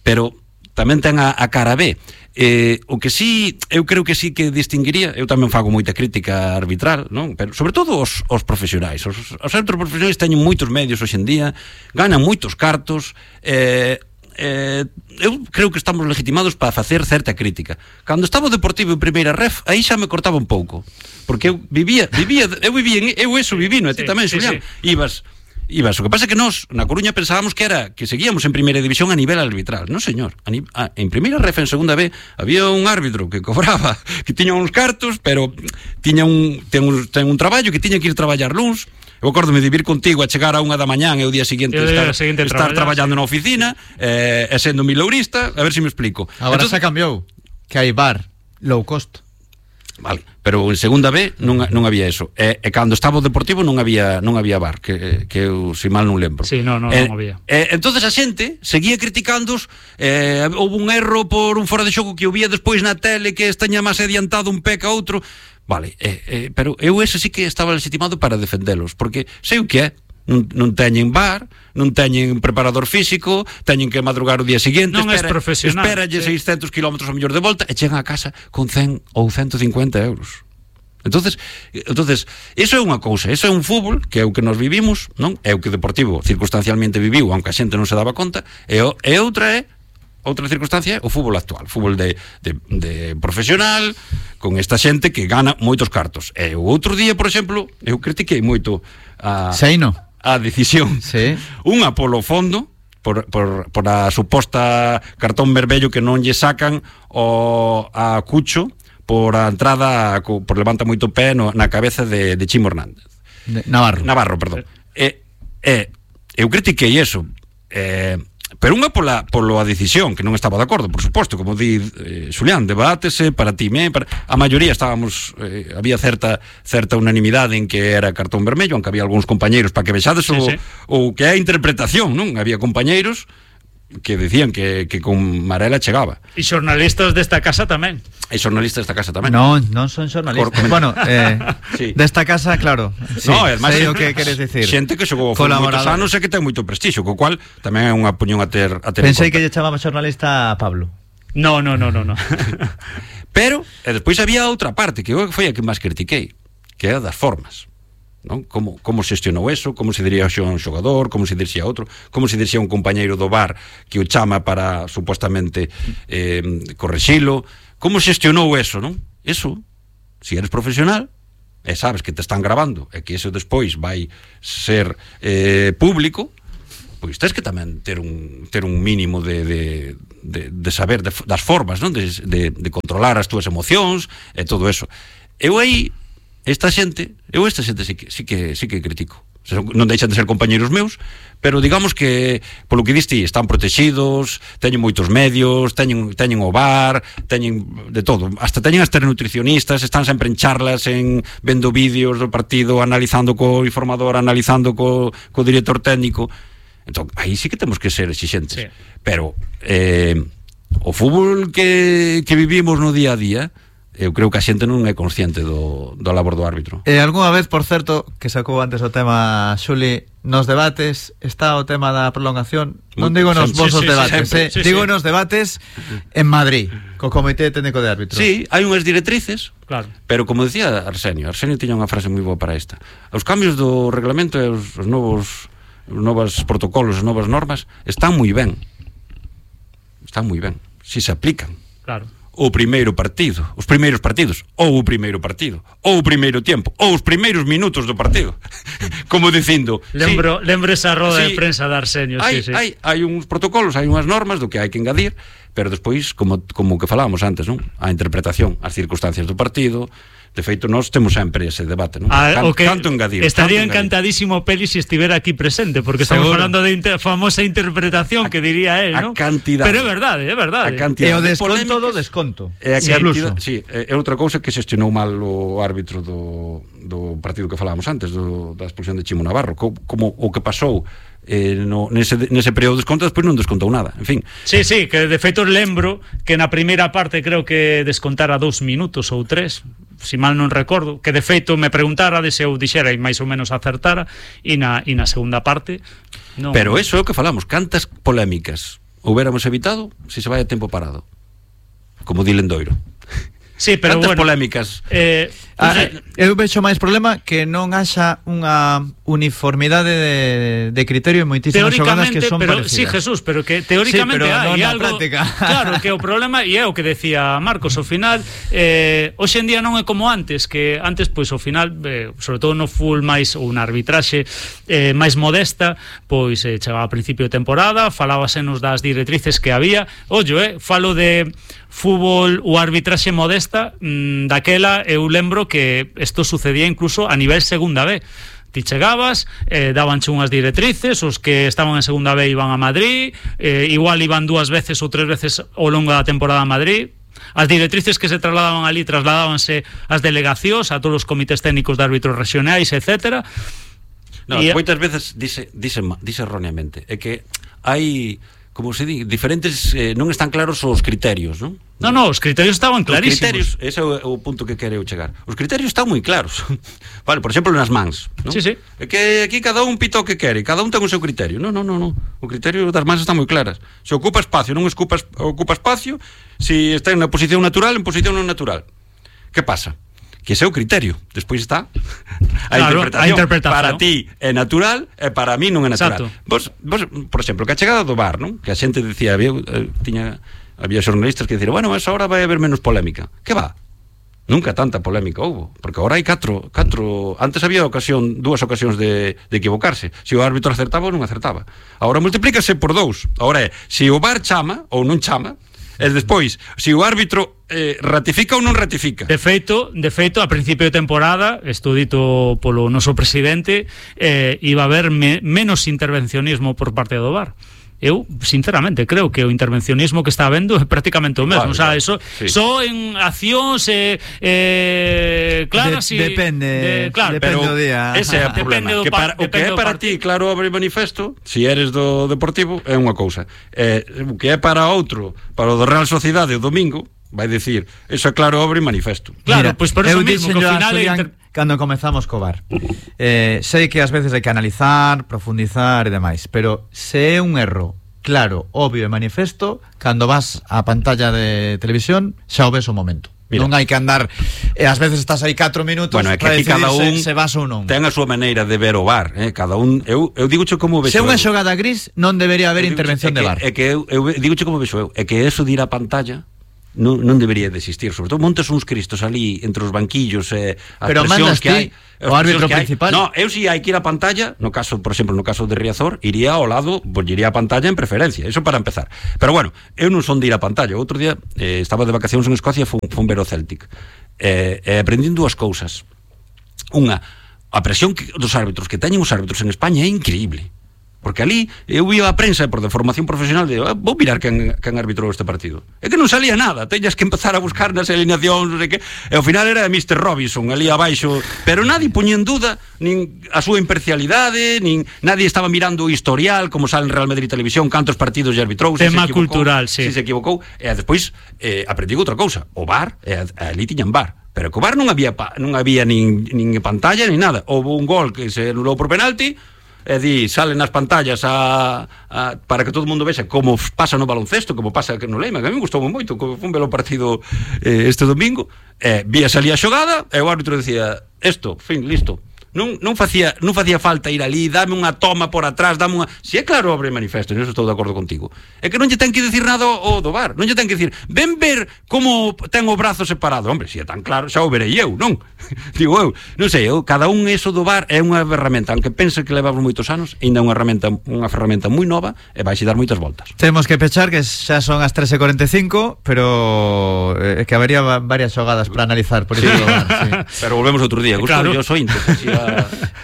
pero tamén ten a, a cara B. Eh, o que sí, eu creo que sí que distinguiría, eu tamén fago moita crítica arbitral, non? Pero sobre todo os, os profesionais. Os, os árbitros profesionais teñen moitos medios hoxe en día, ganan moitos cartos, eh, eh, eu creo que estamos legitimados para facer certa crítica. Cando estaba o Deportivo en primeira ref, aí xa me cortaba un pouco, porque eu vivía, vivía, eu vivía, eu eso viví, no? E ti tamén, sí, Xulián, sí. Ibas Ibas, o que pasa é que nós na Coruña pensábamos que era que seguíamos en primeira división a nivel arbitral. Non, señor, a, a, en primeira ref, en segunda B, había un árbitro que cobraba, que tiña uns cartos, pero tiña un ten un, ten un traballo que tiña que ir traballar luns. Eu acórdome de vir contigo a chegar a unha da mañán e o día seguinte estar, seguinte estar traballando sí. na oficina, eh, e sendo milourista, a ver se me explico. Agora se cambiou, que hai bar low cost. Vale, pero en segunda B non, non había eso. E, e cando estaba o Deportivo non había non había bar, que, que eu, se mal non lembro. Sí, non, non, e, non había. E, entonces a xente seguía criticándos, eh, houve un erro por un fora de xogo que eu vía despois na tele que estaña máis adiantado un pé que outro. Vale, eh, eh, pero eu ese sí que estaba legitimado para defendelos, porque sei o que é. Non, non teñen bar, non teñen preparador físico, teñen que madrugar o día seguinte, non espera, es profesional, esperalle sí. seiscentos kilómetros ao mellor de volta e chegan a casa con cen ou ciento cincuenta euros. Entonces, entonces eso é unha cousa, eso é un fútbol que é o que nos vivimos, non? É o que Deportivo circunstancialmente viviu, aunque a xente non se daba conta, e, o, e outra é outra circunstancia é o fútbol actual, fútbol de, de, de profesional, con esta xente que gana moitos cartos. E o outro día, por exemplo, eu critiquei moito a... Seino. a decisión, sí. Unha polo fondo, por, por, por a suposta cartón vermello que non lle sacan o, a Cucho por a entrada, por levanta moito pé no, na cabeza de, de Chimo Hernández. De Navarro. Navarro, perdón. E, e, eu critiquei eso, eh, pero unha pola, polo a decisión, que non estaba de acordo, por suposto, como di eh, Xulián, debátese para ti, me, para... a maioría estábamos, eh, había certa certa unanimidade en que era cartón vermello, aunque había algúns compañeiros para que vexades sí, o, sí. o que é a interpretación, non? Había compañeiros que decían que, que con Marela chegaba. E xornalistas desta casa tamén. E xornalistas desta casa tamén. Non, non son xornalistas. Cor- bueno, eh, sí. desta casa, claro. Sí, No, é máis sei o que queres dicir. Xente que xogou fútbol moitos anos e que ten moito prestixio, co cual tamén é unha opinión a ter a ter. Pensei que lle chamaba xornalista a Pablo. No, no, no, no, no. Pero, e despois había outra parte que eu foi a que máis critiquei, que é a das formas. Non? Como, como xestionou eso, como se diría a un xogador, como se diría a outro, como se diría a un compañeiro do bar que o chama para supostamente eh, correxilo, como xestionou eso, non? Eso, se eres profesional e sabes que te están grabando e que eso despois vai ser eh, público, pois tens que tamén ter un, ter un mínimo de, de, de, de saber de, das formas, non? De, de, de controlar as túas emocións e todo eso. Eu aí esta xente, eu esta xente sí que, sí que, sí que critico. Non deixan de ser compañeiros meus, pero digamos que, polo que diste, están protegidos, teñen moitos medios, teñen, teñen o bar, teñen de todo, hasta teñen hasta nutricionistas, están sempre en charlas, en vendo vídeos do partido, analizando co informador, analizando co, co director técnico. Entón, aí sí que temos que ser exixentes. Sí. Pero eh, o fútbol que, que vivimos no día a día, eu creo que a xente non é consciente do, do labor do árbitro. E algunha vez, por certo, que sacou antes o tema Xuli, nos debates está o tema da prolongación, non digo nos vosos sí, sí, debates, sempre, eh, sí, digo sí. nos debates en Madrid, co Comité Técnico de Árbitros. Sí, hai unhas directrices, claro. Pero como decía Arsenio, Arsenio tiña unha frase moi boa para esta. Os cambios do reglamento e os, os novos os novos protocolos, as novas normas están moi ben. Están moi ben, si se aplican. Claro. O primeiro partido, os primeiros partidos, ou o primeiro partido, ou o primeiro tempo, ou os primeiros minutos do partido. Como dicindo, lembro, sí, lembro esa roda sí, de prensa de Arsenio, hai, sí, sí. hai, hai uns protocolos, hai unhas normas do que hai que engadir, pero despois, como, como que falábamos antes, non? A interpretación, as circunstancias do partido. De feito, nós temos sempre ese debate, non? Ah, Can, okay. Canto engadir. Estaría canto encantadísimo engadir. Peli se estivera aquí presente, porque estamos Seguro. falando de inter, famosa interpretación a, que diría él, ¿no? A cantidade. Pero é verdade, é verdade. E o desconto do desconto. É a sí, cantidade, sí, é outra cousa que xestionou mal o árbitro do, do partido que falábamos antes, do, da expulsión de Chimo Navarro, como, como o que pasou eh, no, nese, nese período de desconto, despois non descontou nada, en fin. Sí, sí, que de feito lembro que na primeira parte creo que descontara dous minutos ou tres, si mal non recordo, que de feito me preguntara de se eu dixera e máis ou menos acertara, e na, e na segunda parte non. Pero eso é o que falamos, cantas polémicas houbéramos evitado se se vai a tempo parado, como di Lendoiro. Sí, pero cantas bueno, polémicas eh, ah, eu vexo máis problema que non haxa unha uniformidade de, de criterio en moitísimas xogadas que son pero, parecidas. Sí, Jesús, pero que teóricamente sí, pero hai non algo práctica. Claro, que o problema, e é o que decía Marcos, ao final eh, hoxe en día non é como antes, que antes pois ao final, eh, sobre todo no full máis ou na arbitraxe eh, máis modesta, pois eh, chegaba a principio de temporada, falábasenos das directrices que había. Ollo, eh, falo de fútbol ou arbitraxe modesta, mmm, daquela eu lembro que isto sucedía incluso a nivel segunda B. Ti chegabas, eh, dabanche unhas directrices, os que estaban en segunda B iban a Madrid, eh, igual iban dúas veces ou tres veces ao longo da temporada a Madrid. As directrices que se trasladaban ali trasladábanse ás delegacións, a todos os comités técnicos de árbitros regionais, etcétera. No, e moitas veces dice, dice, dice erróneamente, é que hai, como se di, diferentes, eh, non están claros os criterios, non? No, no, os criterios estaban clarísimos. Os criterios, ese é o, o punto que quereu chegar. Os criterios están moi claros. Vale, por exemplo, nas mans, non? Sí, sí. É que aquí cada un pita o que quere, cada un ten o seu criterio. Non, non, non, non. O criterio das mans están moi claras. Se ocupa espacio, non ocupa, ocupa espacio, se está en posición natural, en posición non natural. Que pasa? Que ese é o criterio. Despois está a, claro, interpretación. a interpretación. Para ti é natural e para mí non é natural. Exacto. Vos, vos, por exemplo, que a chegada do bar, non? Que a xente decía, había, eh, tiña, había xornalistas que dicían, bueno, mas agora vai haber menos polémica. Que va? Nunca tanta polémica houbo, porque agora hai catro, catro... Antes había ocasión, dúas ocasións de, de equivocarse. Se o árbitro acertaba ou non acertaba. Agora multiplícase por dous. Agora é, se o bar chama ou non chama, e despois, se o árbitro eh, ratifica ou non ratifica. De feito, de feito, a principio de temporada, isto dito polo noso presidente, eh, iba a haber me, menos intervencionismo por parte do V A R. eu sinceramente creo que o intervencionismo que está habendo é prácticamente o mesmo, Claro, o sea, eso sí. só en accións eh, eh, claras De- e depende, de, claro, depende Pero do día. ese é o Depende problema do que para, par- o que é depende do para partido. ti claro obra e manifesto, si eres do Deportivo, é unha cousa, eh, o que é para outro, para o do Real Sociedade o domingo, vai dicir, eso é claro obra e manifesto. Claro, Mira, pois por eso eu mismo que díxenllo ao a final é Julián inter... cando comezamos co bar. Eh, sei que ás veces hai que analizar, profundizar e demais, pero se é un erro claro, obvio e manifesto, cando vas á pantalla de televisión xa o ves o momento. Mira. Non hai que andar, e ás veces estás aí catro minutos Bueno, é que para aquí decidir cada un se, se vas ou non. ten a súa maneira de ver o bar, eh? Cada un, eu, eu digoche como vexo Se é unha eu. xogada gris, non debería haber Eu digoche- intervención é de que- bar. É que eu, eu digoche como vexo eu, é que eso de ir á pantalla non, non debería de existir, sobre todo montes uns cristos ali entre os banquillos e eh, as Pero presións mandas que ti, hai, as o árbitro presións que hai. principal. No, eu si hai que ir á pantalla, no caso, por exemplo, no caso de Riazor, iría ao lado, pues, iría á pantalla en preferencia, eso para empezar. Pero bueno, eu non son de ir á pantalla. Outro día eh, estaba de vacacións en Escocia, fun, fun ver o Celtic. Eh, eh, aprendín dúas cousas. Unha, a presión que, dos árbitros que teñen os árbitros en España é increíble. Porque ali eu vi a prensa por de formación profesional de ah, vou mirar quen, quen arbitrou este partido. É que non salía nada, teñas que empezar a buscar nas alineacións, non sei que. E ao final era mister Robinson ali abaixo, pero nadie puña en duda nin a súa imparcialidade, nin nadie estaba mirando o historial, como sale en Real Madrid Televisión, cantos partidos lle arbitrou, se Tema se equivocou, cultural, sí. se se equivocou, e despois eh, aprendí outra cousa, o VAR, e ali tiñan VAR. Pero co VAR non había pa, non había nin, nin pantalla nin nada. Houve un gol que se anulou por penalti, e di, salen nas pantallas a, a, para que todo o mundo vexa como pasa no baloncesto, como pasa no Leima, que a mí me gustou moito, como fun ver o partido eh, este domingo, e vía salía a xogada, e o árbitro decía, esto, fin, listo. Non, non facía non facía falta ir ali, dame unha toma por atrás, dame unha... Si é claro obra e manifesto, nisso estou de acordo contigo. É que non lle ten que dicir nada o do VAR, non lle ten que dicir, ven ver como ten o brazo separado. Hombre, se é tan claro, xa o verei eu, non? Digo eu, non sei, eu, cada un eso do VAR é unha ferramenta, aunque pense que levamos moitos anos, ainda é unha ferramenta, unha ferramenta moi nova e vai xe dar moitas voltas. Temos que pechar, que xa son as tres e cuarenta e cinco, pero é eh, que habería varias xogadas para analizar, por iso Sí. do VAR, sí. Pero volvemos outro día, gusto, Claro. yo soy inte, así a...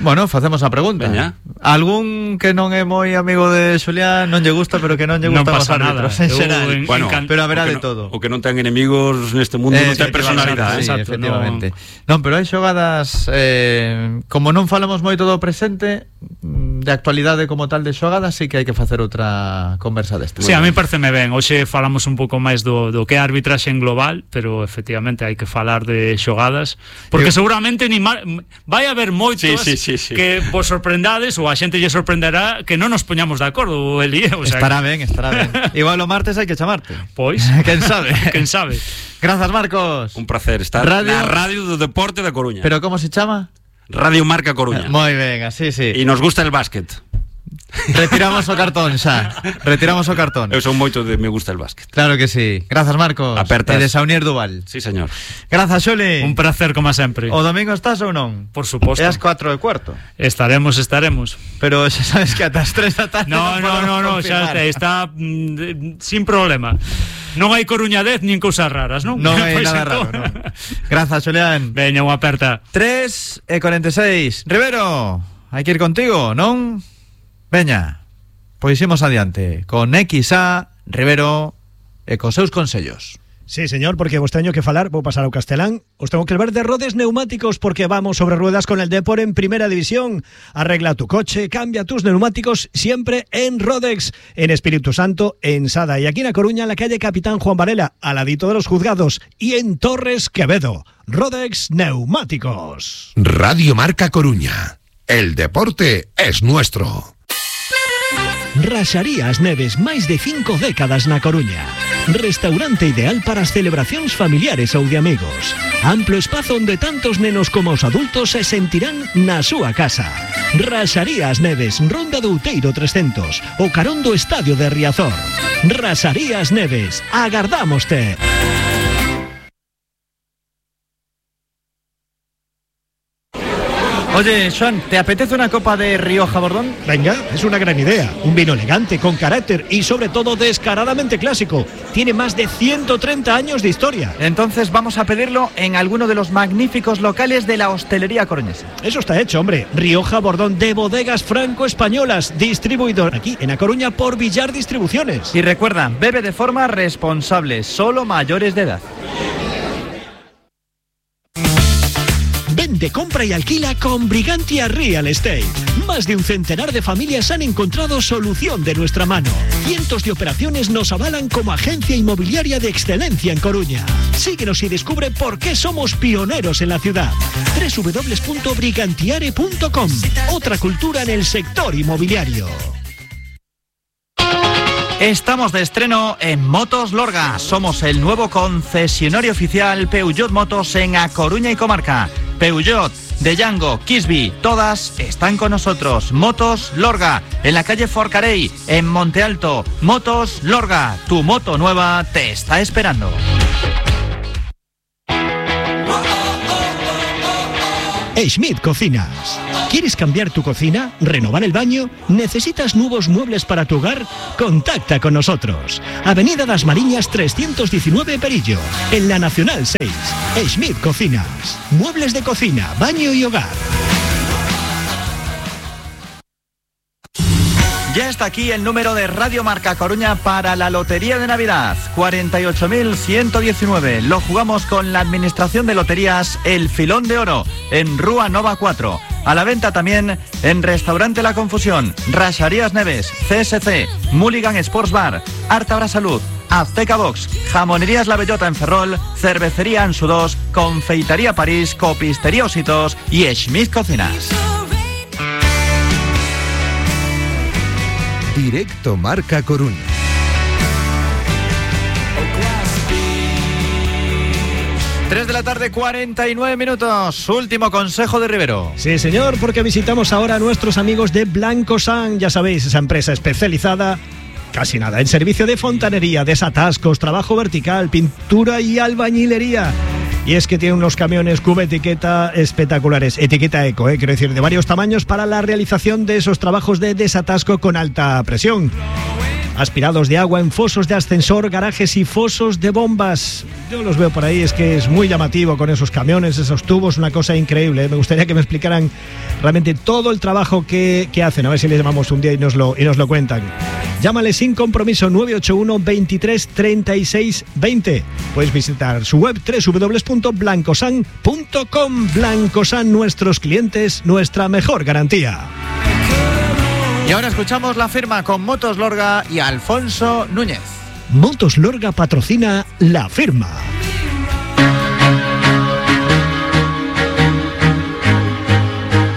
Bueno, facemos a pregunta. Veña. Algún que non é moi amigo de Xulián non lle gusta, pero que non lle Non gustan os pasa nada. árbitros en Eu xeral. en- Bueno, encan- pero haberá o de que no- todo. O que non ten enemigos neste mundo non ten personalidade, Sí, eh? Exacto, efectivamente. Non, pero hai xogadas eh, como non falamos moito do presente, mm, de actualidade como tal de xogadas, sí que hai que facer outra conversa deste. Sí, a mí pareceme ben. Hoxe falamos un pouco máis do, do que é a arbitraxe en global, pero efectivamente hai que falar de xogadas, porque Eu- seguramente ni mar... vai haber moitos Sí, sí, sí, sí. que vos sorprendades ou a xente lle sorprenderá que non nos poñamos de acordo, Eli, o sea, Estará ben, estará ben. Igual o martes hai que chamarte. pois, Quen sabe? quen sabe. Grazas, Marcos. Un placer estar Radio- na Radio do Deporte da Coruña. Pero como se chama? Radio Marca Coruña. Moi ben, así, sí. E nos gusta el básquet. Retiramos o cartón xa. Retiramos o cartón. Eu son moito de me gusta el básquet. Claro que sí. Grazas, Marcos. Apertas. E de Saunier Duval. Sí, señor. Grazas, Xuli. Un placer como sempre. O domingo estás ou non? Por suposto. É as cuatro e cuarto. Estaremos, estaremos. Pero xa sabes que ata as tres da tarde No, no, no, no, xa confirmar. está mm, de- sin problema. Non hai Coruña dez nin cousas raras, non? Non hai Pois nada entón- raro, non. Grazas, Xulián. Veña, unha aperta. tres e cuarenta e seis. Rivero, hai que ir contigo, non? Veña. Pois imos adiante con X A, Rivero e cos seus consellos. Sí, señor, porque vos teño que falar, vou pasar ao castelán. Os tengo que ver de Rodes Neumáticos porque vamos sobre ruedas con el Depor en Primera División. Arregla tu coche, cambia tus neumáticos siempre en Rodex, en Espíritu Santo, en Sada y aquí en A Coruña, en la calle Capitán Juan Varela, al ladito de los juzgados, y en Torres Quevedo. Rodex Neumáticos. Radio Marca Coruña. El deporte es nuestro. Raxarías Neves, máis de cinco décadas na Coruña. Restaurante ideal para as celebracións familiares ou de amigos. Amplo espazo onde tantos nenos como os adultos se sentirán na súa casa. Raxarías Neves, Ronda do Outeiro trescentos, o carón do Estadio de Riazor. Raxarías Neves, agardámoste. Oye, Joan, ¿te apetece una copa de Rioja Bordón? Venga, es una gran idea. Un vino elegante, con carácter y sobre todo descaradamente clásico. Tiene más de ciento treinta años de historia. Entonces vamos a pedirlo en alguno de los magníficos locales de la hostelería coruñesa. Eso está hecho, hombre. Rioja Bordón de Bodegas Franco-Españolas, distribuidor aquí en A Coruña por Villar Distribuciones. Y recuerda, bebe de forma responsable, solo mayores de edad. Vende, compra y alquila con Brigantia Real Estate. Más de un centenar de familias han encontrado solución de nuestra mano. Cientos de operaciones nos avalan como agencia inmobiliaria de excelencia en Coruña. Síguenos y descubre por qué somos pioneros en la ciudad. doble u doble u doble u punto brigantiare punto com. Otra cultura en el sector inmobiliario. Estamos de estreno en Motos Lorga. Somos el nuevo concesionario oficial Peugeot Motos en A Coruña y comarca. Peugeot, Deyango, Kisby, todas están con nosotros. Motos Lorga, en la calle Forcarey, en Monte Alto. Motos Lorga, tu moto nueva te está esperando. Schmidt Cocinas. ¿Quieres cambiar tu cocina? ¿Renovar el baño? ¿Necesitas nuevos muebles para tu hogar? Contacta con nosotros. Avenida Das Mariñas trescientos diecinueve Perillo, en la Nacional seis. Schmidt Cocinas. Muebles de cocina, baño y hogar. Ya está aquí el número de Radio Marca Coruña para la Lotería de Navidad. cuarenta y ocho mil ciento diecinueve. Lo jugamos con la Administración de Loterías El Filón de Oro, en Rúa Nova cuatro. A la venta también en Restaurante La Confusión, Raxarías Neves, C S C, Mulligan Sports Bar, Artabra Salud, Azteca Box, Jamonerías La Bellota en Ferrol, Cervecería Ansu dos, Confeitería París, Copistería Ositos y Schmidt Cocinas. Directo Marca Coruña. tres de la tarde, cuarenta y nueve minutos. Último consejo de Rivero. Sí, señor, porque visitamos ahora a nuestros amigos de Blanco San. Ya sabéis, esa empresa especializada, casi nada, en servicio de fontanería, desatascos, trabajo vertical, pintura y albañilería. Y es que tiene unos camiones cuba etiqueta espectaculares, etiqueta eco, eh, quiero decir, de varios tamaños para la realización de esos trabajos de desatasco con alta presión. Aspirados de agua en fosos de ascensor, garajes y fosos de bombas. Yo los veo por ahí, es que es muy llamativo con esos camiones, esos tubos, una cosa increíble, ¿eh? Me gustaría que me explicaran realmente todo el trabajo que, que hacen, a ver si les llamamos un día y nos lo, y nos lo cuentan. Llámale sin compromiso nueve ocho uno, veintitrés, treinta y seis, veinte. Puedes visitar su web doble u doble u doble u punto blancosan punto com. Blancosan, nuestros clientes, nuestra mejor garantía. Y ahora escuchamos la firma con Motos Lorga y Alfonso Núñez. Motos Lorga patrocina La Firma.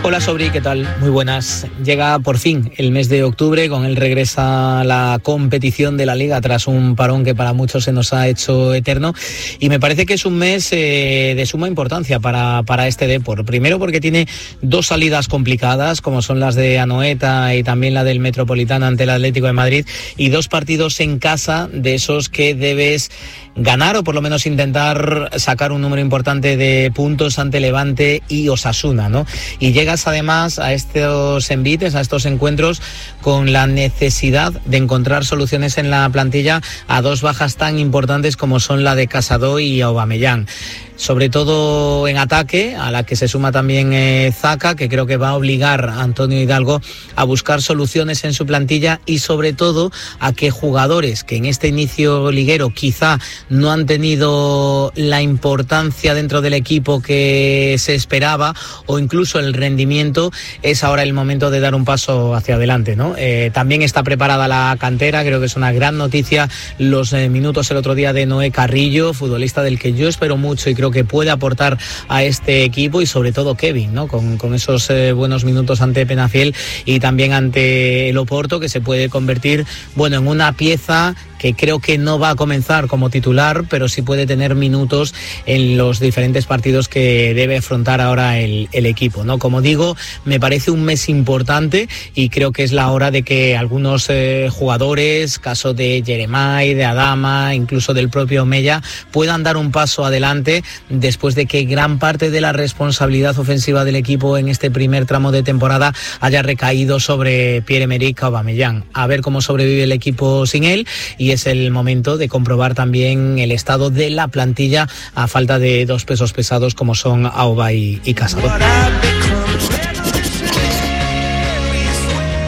Hola Sobri, ¿qué tal? Muy buenas. Llega por fin el mes de octubre, con él regresa la competición de la Liga tras un parón que para muchos se nos ha hecho eterno, y me parece que es un mes eh, de suma importancia para, para este Depor. Primero porque tiene dos salidas complicadas, como son las de Anoeta y también la del Metropolitano ante el Atlético de Madrid, y dos partidos en casa de esos que debes ganar o por lo menos intentar sacar un número importante de puntos ante Levante y Osasuna, ¿no? Y llegas además a estos envites, a estos encuentros, con la necesidad de encontrar soluciones en la plantilla a dos bajas tan importantes como son la de Casado y Aubameyang. Sobre todo en ataque, a la que se suma también eh, Zaka, que creo que va a obligar a Antonio Hidalgo a buscar soluciones en su plantilla, y sobre todo a que jugadores que en este inicio liguero quizá no han tenido la importancia dentro del equipo que se esperaba, o incluso el rendimiento, es ahora el momento de dar un paso hacia adelante, ¿no? Eh, también está preparada la cantera, creo que es una gran noticia los eh, minutos el otro día de Noé Carrillo, futbolista del que yo espero mucho y creo que puede aportar a este equipo, y sobre todo Kevin, ¿no? Con, con esos eh, buenos minutos ante Penafiel y también ante el Oporto, que se puede convertir, bueno, en una pieza que creo que no va a comenzar como titular, pero sí puede tener minutos en los diferentes partidos que debe afrontar ahora el, el equipo, ¿no? Como digo, me parece un mes importante y creo que es la hora de que algunos eh, jugadores, caso de Jeremai, de Adama, incluso del propio Mella, puedan dar un paso adelante después de que gran parte de la responsabilidad ofensiva del equipo en este primer tramo de temporada haya recaído sobre Pierre-Emerick Aubameyang. A ver cómo sobrevive el equipo sin él, y es el momento de comprobar también el estado de la plantilla a falta de dos pesos pesados como son Auba y, y Casado.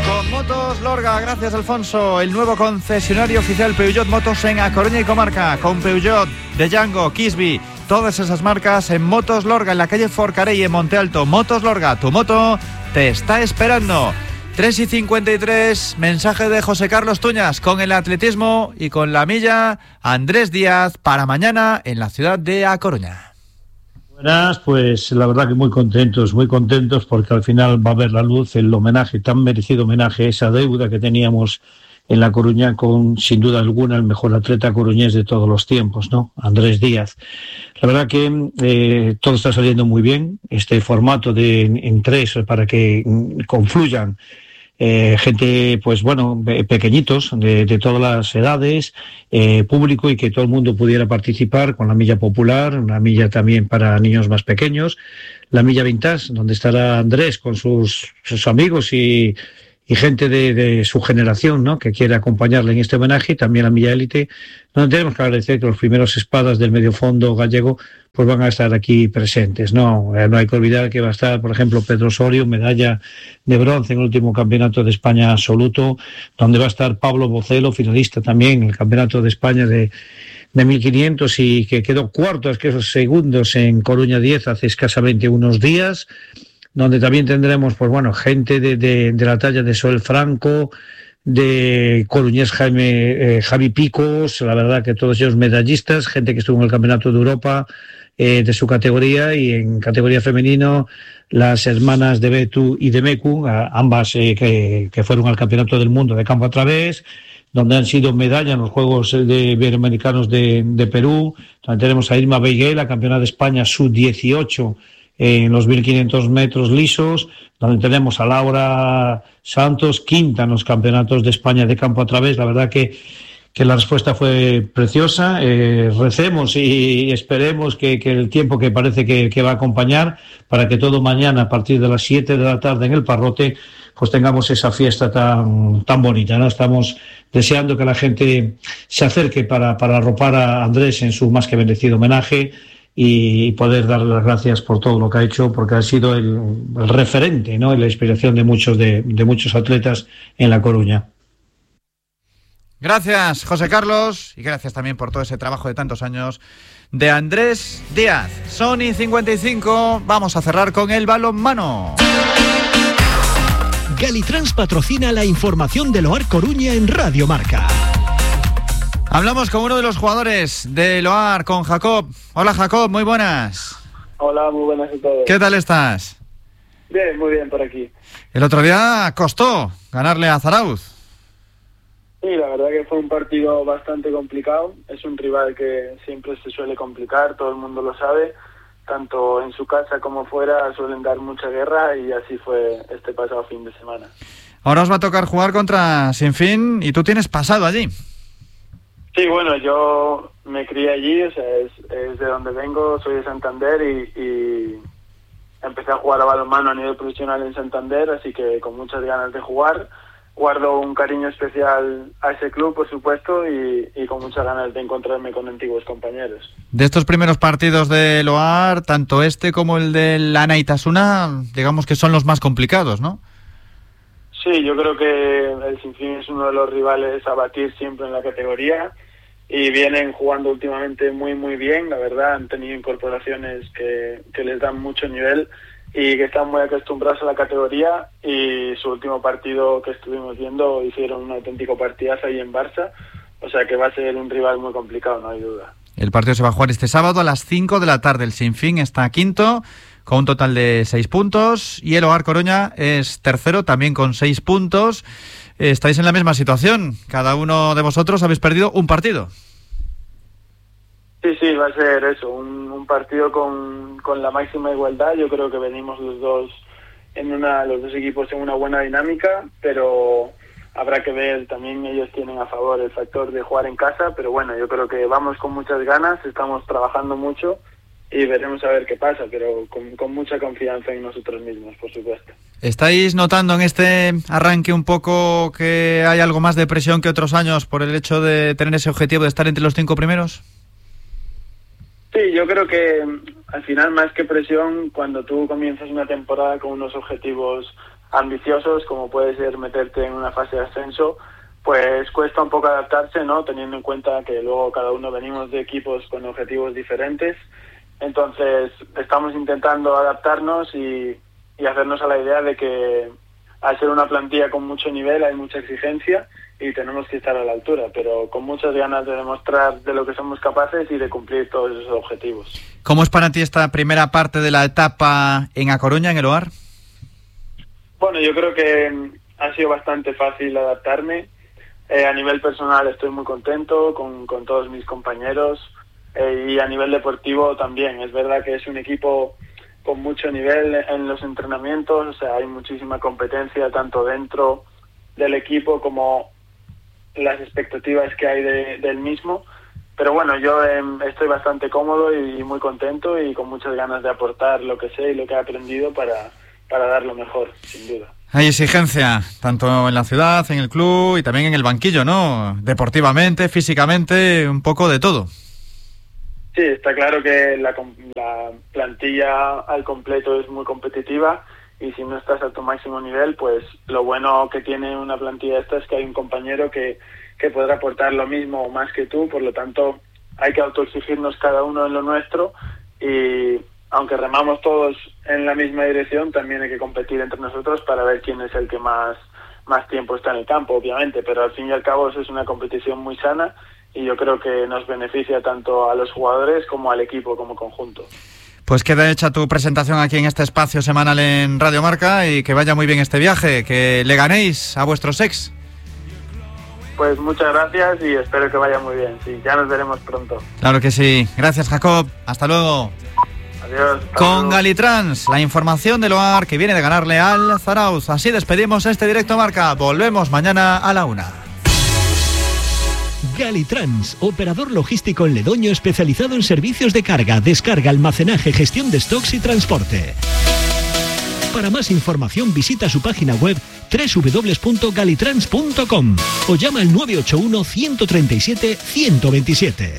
Con Motos Lorga, gracias Alfonso, el nuevo concesionario oficial Peugeot Motos en A Coruña y comarca, con Peugeot, De Django, Kisby, todas esas marcas en Motos Lorga, en la calle Forcarey, en Monte Alto. Motos Lorga, tu moto te está esperando. tres y cincuenta y tres, mensaje de José Carlos Tuñas con el atletismo y con la milla. Andrés Díaz para mañana en la ciudad de A Coruña. Buenas, pues la verdad que muy contentos, muy contentos porque al final va a ver la luz el homenaje, tan merecido homenaje, esa deuda que teníamos en La Coruña con, sin duda alguna, el mejor atleta coruñés de todos los tiempos, ¿no? Andrés Díaz. La verdad que eh, todo está saliendo muy bien, este formato de en, en tres para que mm, confluyan Eh, gente, pues bueno, pequeñitos, de, de todas las edades, eh, público, y que todo el mundo pudiera participar con la milla popular, una milla también para niños más pequeños, la milla vintage, donde estará Andrés con sus, sus amigos y, y gente de, de su generación, ¿no?, que quiere acompañarle en este homenaje, y también la milla élite, donde tenemos que agradecer que los primeros espadas del medio fondo gallego pues van a estar aquí presentes. No, no hay que olvidar que va a estar, por ejemplo, Pedro Osorio, medalla de bronce en el último campeonato de España absoluto, donde va a estar Pablo Bocelo, finalista también en el campeonato de España de, de mil quinientos, y que quedó cuarto, es que esos segundos en Coruña diez hace escasamente unos días, donde también tendremos, pues bueno, gente de, de, de la talla de Soel Franco, de Coruñés Jaime, eh, Javi Picos, la verdad que todos ellos medallistas, gente que estuvo en el Campeonato de Europa eh, de su categoría, y en categoría femenino las hermanas de Betu y de Mecu, ambas eh, que, que fueron al Campeonato del Mundo de campo a través, donde han sido medalla en los Juegos de Iberoamericanos de, de Perú. También tenemos a Irma Beiguel, la campeona de España sub dieciocho en los mil quinientos metros lisos, donde tenemos a Laura Santos, quinta en los campeonatos de España de campo a través. La verdad que, que la respuesta fue preciosa. Eh, recemos y esperemos que, que el tiempo que parece que, que va a acompañar, para que todo mañana a partir de las siete de la tarde en el Parrote pues tengamos esa fiesta tan, tan bonita, ¿no? Estamos deseando que la gente se acerque para, para arropar a Andrés en su más que merecido homenaje, y poder darle las gracias por todo lo que ha hecho, porque ha sido el, el referente, ¿no?, y la inspiración de muchos de, de muchos atletas en La Coruña. Gracias, José Carlos, y gracias también por todo ese trabajo de tantos años de Andrés Díaz. Sony cincuenta y cinco, vamos a cerrar con el balonmano. Galitrans patrocina la información del Loar Coruña en Radio Marca. Hablamos con uno de los jugadores de Loar, con Jacob. Hola Jacob, muy buenas. Hola, muy buenas a todos. ¿Qué tal estás? Bien, muy bien por aquí. El otro día costó ganarle a Zarauz. Sí, la verdad que fue un partido bastante complicado. Es un rival que siempre se suele complicar, todo el mundo lo sabe. Tanto en su casa como fuera suelen dar mucha guerra, y así fue este pasado fin de semana. Ahora os va a tocar jugar contra Sinfín, y tú tienes pasado allí. Sí, bueno, yo me crié allí, o sea, es, es de donde vengo, soy de Santander, y, y empecé a jugar a balonmano a nivel profesional en Santander, así que con muchas ganas de jugar. Guardo un cariño especial a ese club, por supuesto, y, y con muchas ganas de encontrarme con antiguos compañeros. De estos primeros partidos de Loar, tanto este como el del Lana Itasuna, digamos que son los más complicados, ¿no? Sí, yo creo que el Sinfín es uno de los rivales a batir siempre en la categoría, y vienen jugando últimamente muy muy bien, la verdad. Han tenido incorporaciones que, que les dan mucho nivel y que están muy acostumbrados a la categoría, y su último partido que estuvimos viendo hicieron un auténtico partidazo ahí en Barça, o sea que va a ser un rival muy complicado, no hay duda. El partido se va a jugar este sábado a las cinco de la tarde. El Sinfín está quinto con un total de seis puntos, y el Oar Coruña es tercero, también con seis puntos. Estáis en la misma situación, cada uno de vosotros habéis perdido un partido. Sí, sí, va a ser eso, un, un partido con, con la máxima igualdad. Yo creo que venimos los dos en una, los dos equipos en una buena dinámica, pero habrá que ver, también ellos tienen a favor el factor de jugar en casa, pero bueno, yo creo que vamos con muchas ganas, estamos trabajando mucho y veremos a ver qué pasa, pero con, con mucha confianza en nosotros mismos, por supuesto. ¿Estáis notando en este arranque un poco que hay algo más de presión que otros años por el hecho de tener ese objetivo de estar entre los cinco primeros? Sí, yo creo que al final, más que presión, cuando tú comienzas una temporada con unos objetivos ambiciosos, como puede ser meterte en una fase de ascenso, pues cuesta un poco adaptarse, ¿no? Teniendo en cuenta que luego cada uno venimos de equipos con objetivos diferentes. Entonces, estamos intentando adaptarnos y, y hacernos a la idea de que al ser una plantilla con mucho nivel hay mucha exigencia y tenemos que estar a la altura, pero con muchas ganas de demostrar de lo que somos capaces y de cumplir todos esos objetivos. ¿Cómo es para ti esta primera parte de la etapa en A Coruña, en el Oar? Bueno, yo creo que ha sido bastante fácil adaptarme. Eh, a nivel personal estoy muy contento con, con todos mis compañeros, eh, y a nivel deportivo también. Es verdad que es un equipo con mucho nivel en los entrenamientos, o sea, hay muchísima competencia tanto dentro del equipo como las expectativas que hay de, del mismo, pero bueno, yo eh, estoy bastante cómodo y, y muy contento y con muchas ganas de aportar lo que sé y lo que he aprendido para, para dar lo mejor, sin duda. Hay exigencia, tanto en la ciudad, en el club y también en el banquillo, ¿no? Deportivamente, físicamente, un poco de todo. Sí, está claro que la, la plantilla al completo es muy competitiva y si no estás a tu máximo nivel, pues lo bueno que tiene una plantilla esta es que hay un compañero que, que podrá aportar lo mismo o más que tú, por lo tanto hay que autoexigirnos cada uno en lo nuestro y aunque remamos todos en la misma dirección, también hay que competir entre nosotros para ver quién es el que más, más tiempo está en el campo, obviamente, pero al fin y al cabo eso es una competición muy sana y yo creo que nos beneficia tanto a los jugadores como al equipo como conjunto. Pues queda hecha tu presentación aquí en este espacio semanal en Radio Marca y que vaya muy bien este viaje, que le ganéis a vuestros ex. Pues muchas gracias y espero que vaya muy bien, sí, ya nos veremos pronto. Claro que sí. Gracias, Jacob. Hasta luego. Adiós. Con Galitrans, la información del Oar que viene de ganarle al Zarauz. Así despedimos este directo Marca. Volvemos mañana a la una. Galitrans, operador logístico en Ledoño especializado en servicios de carga, descarga, almacenaje, gestión de stocks y transporte. Para más información visita su página web doble u doble u doble u punto galitrans punto com o llama al nueve ocho uno, uno tres siete, uno dos siete.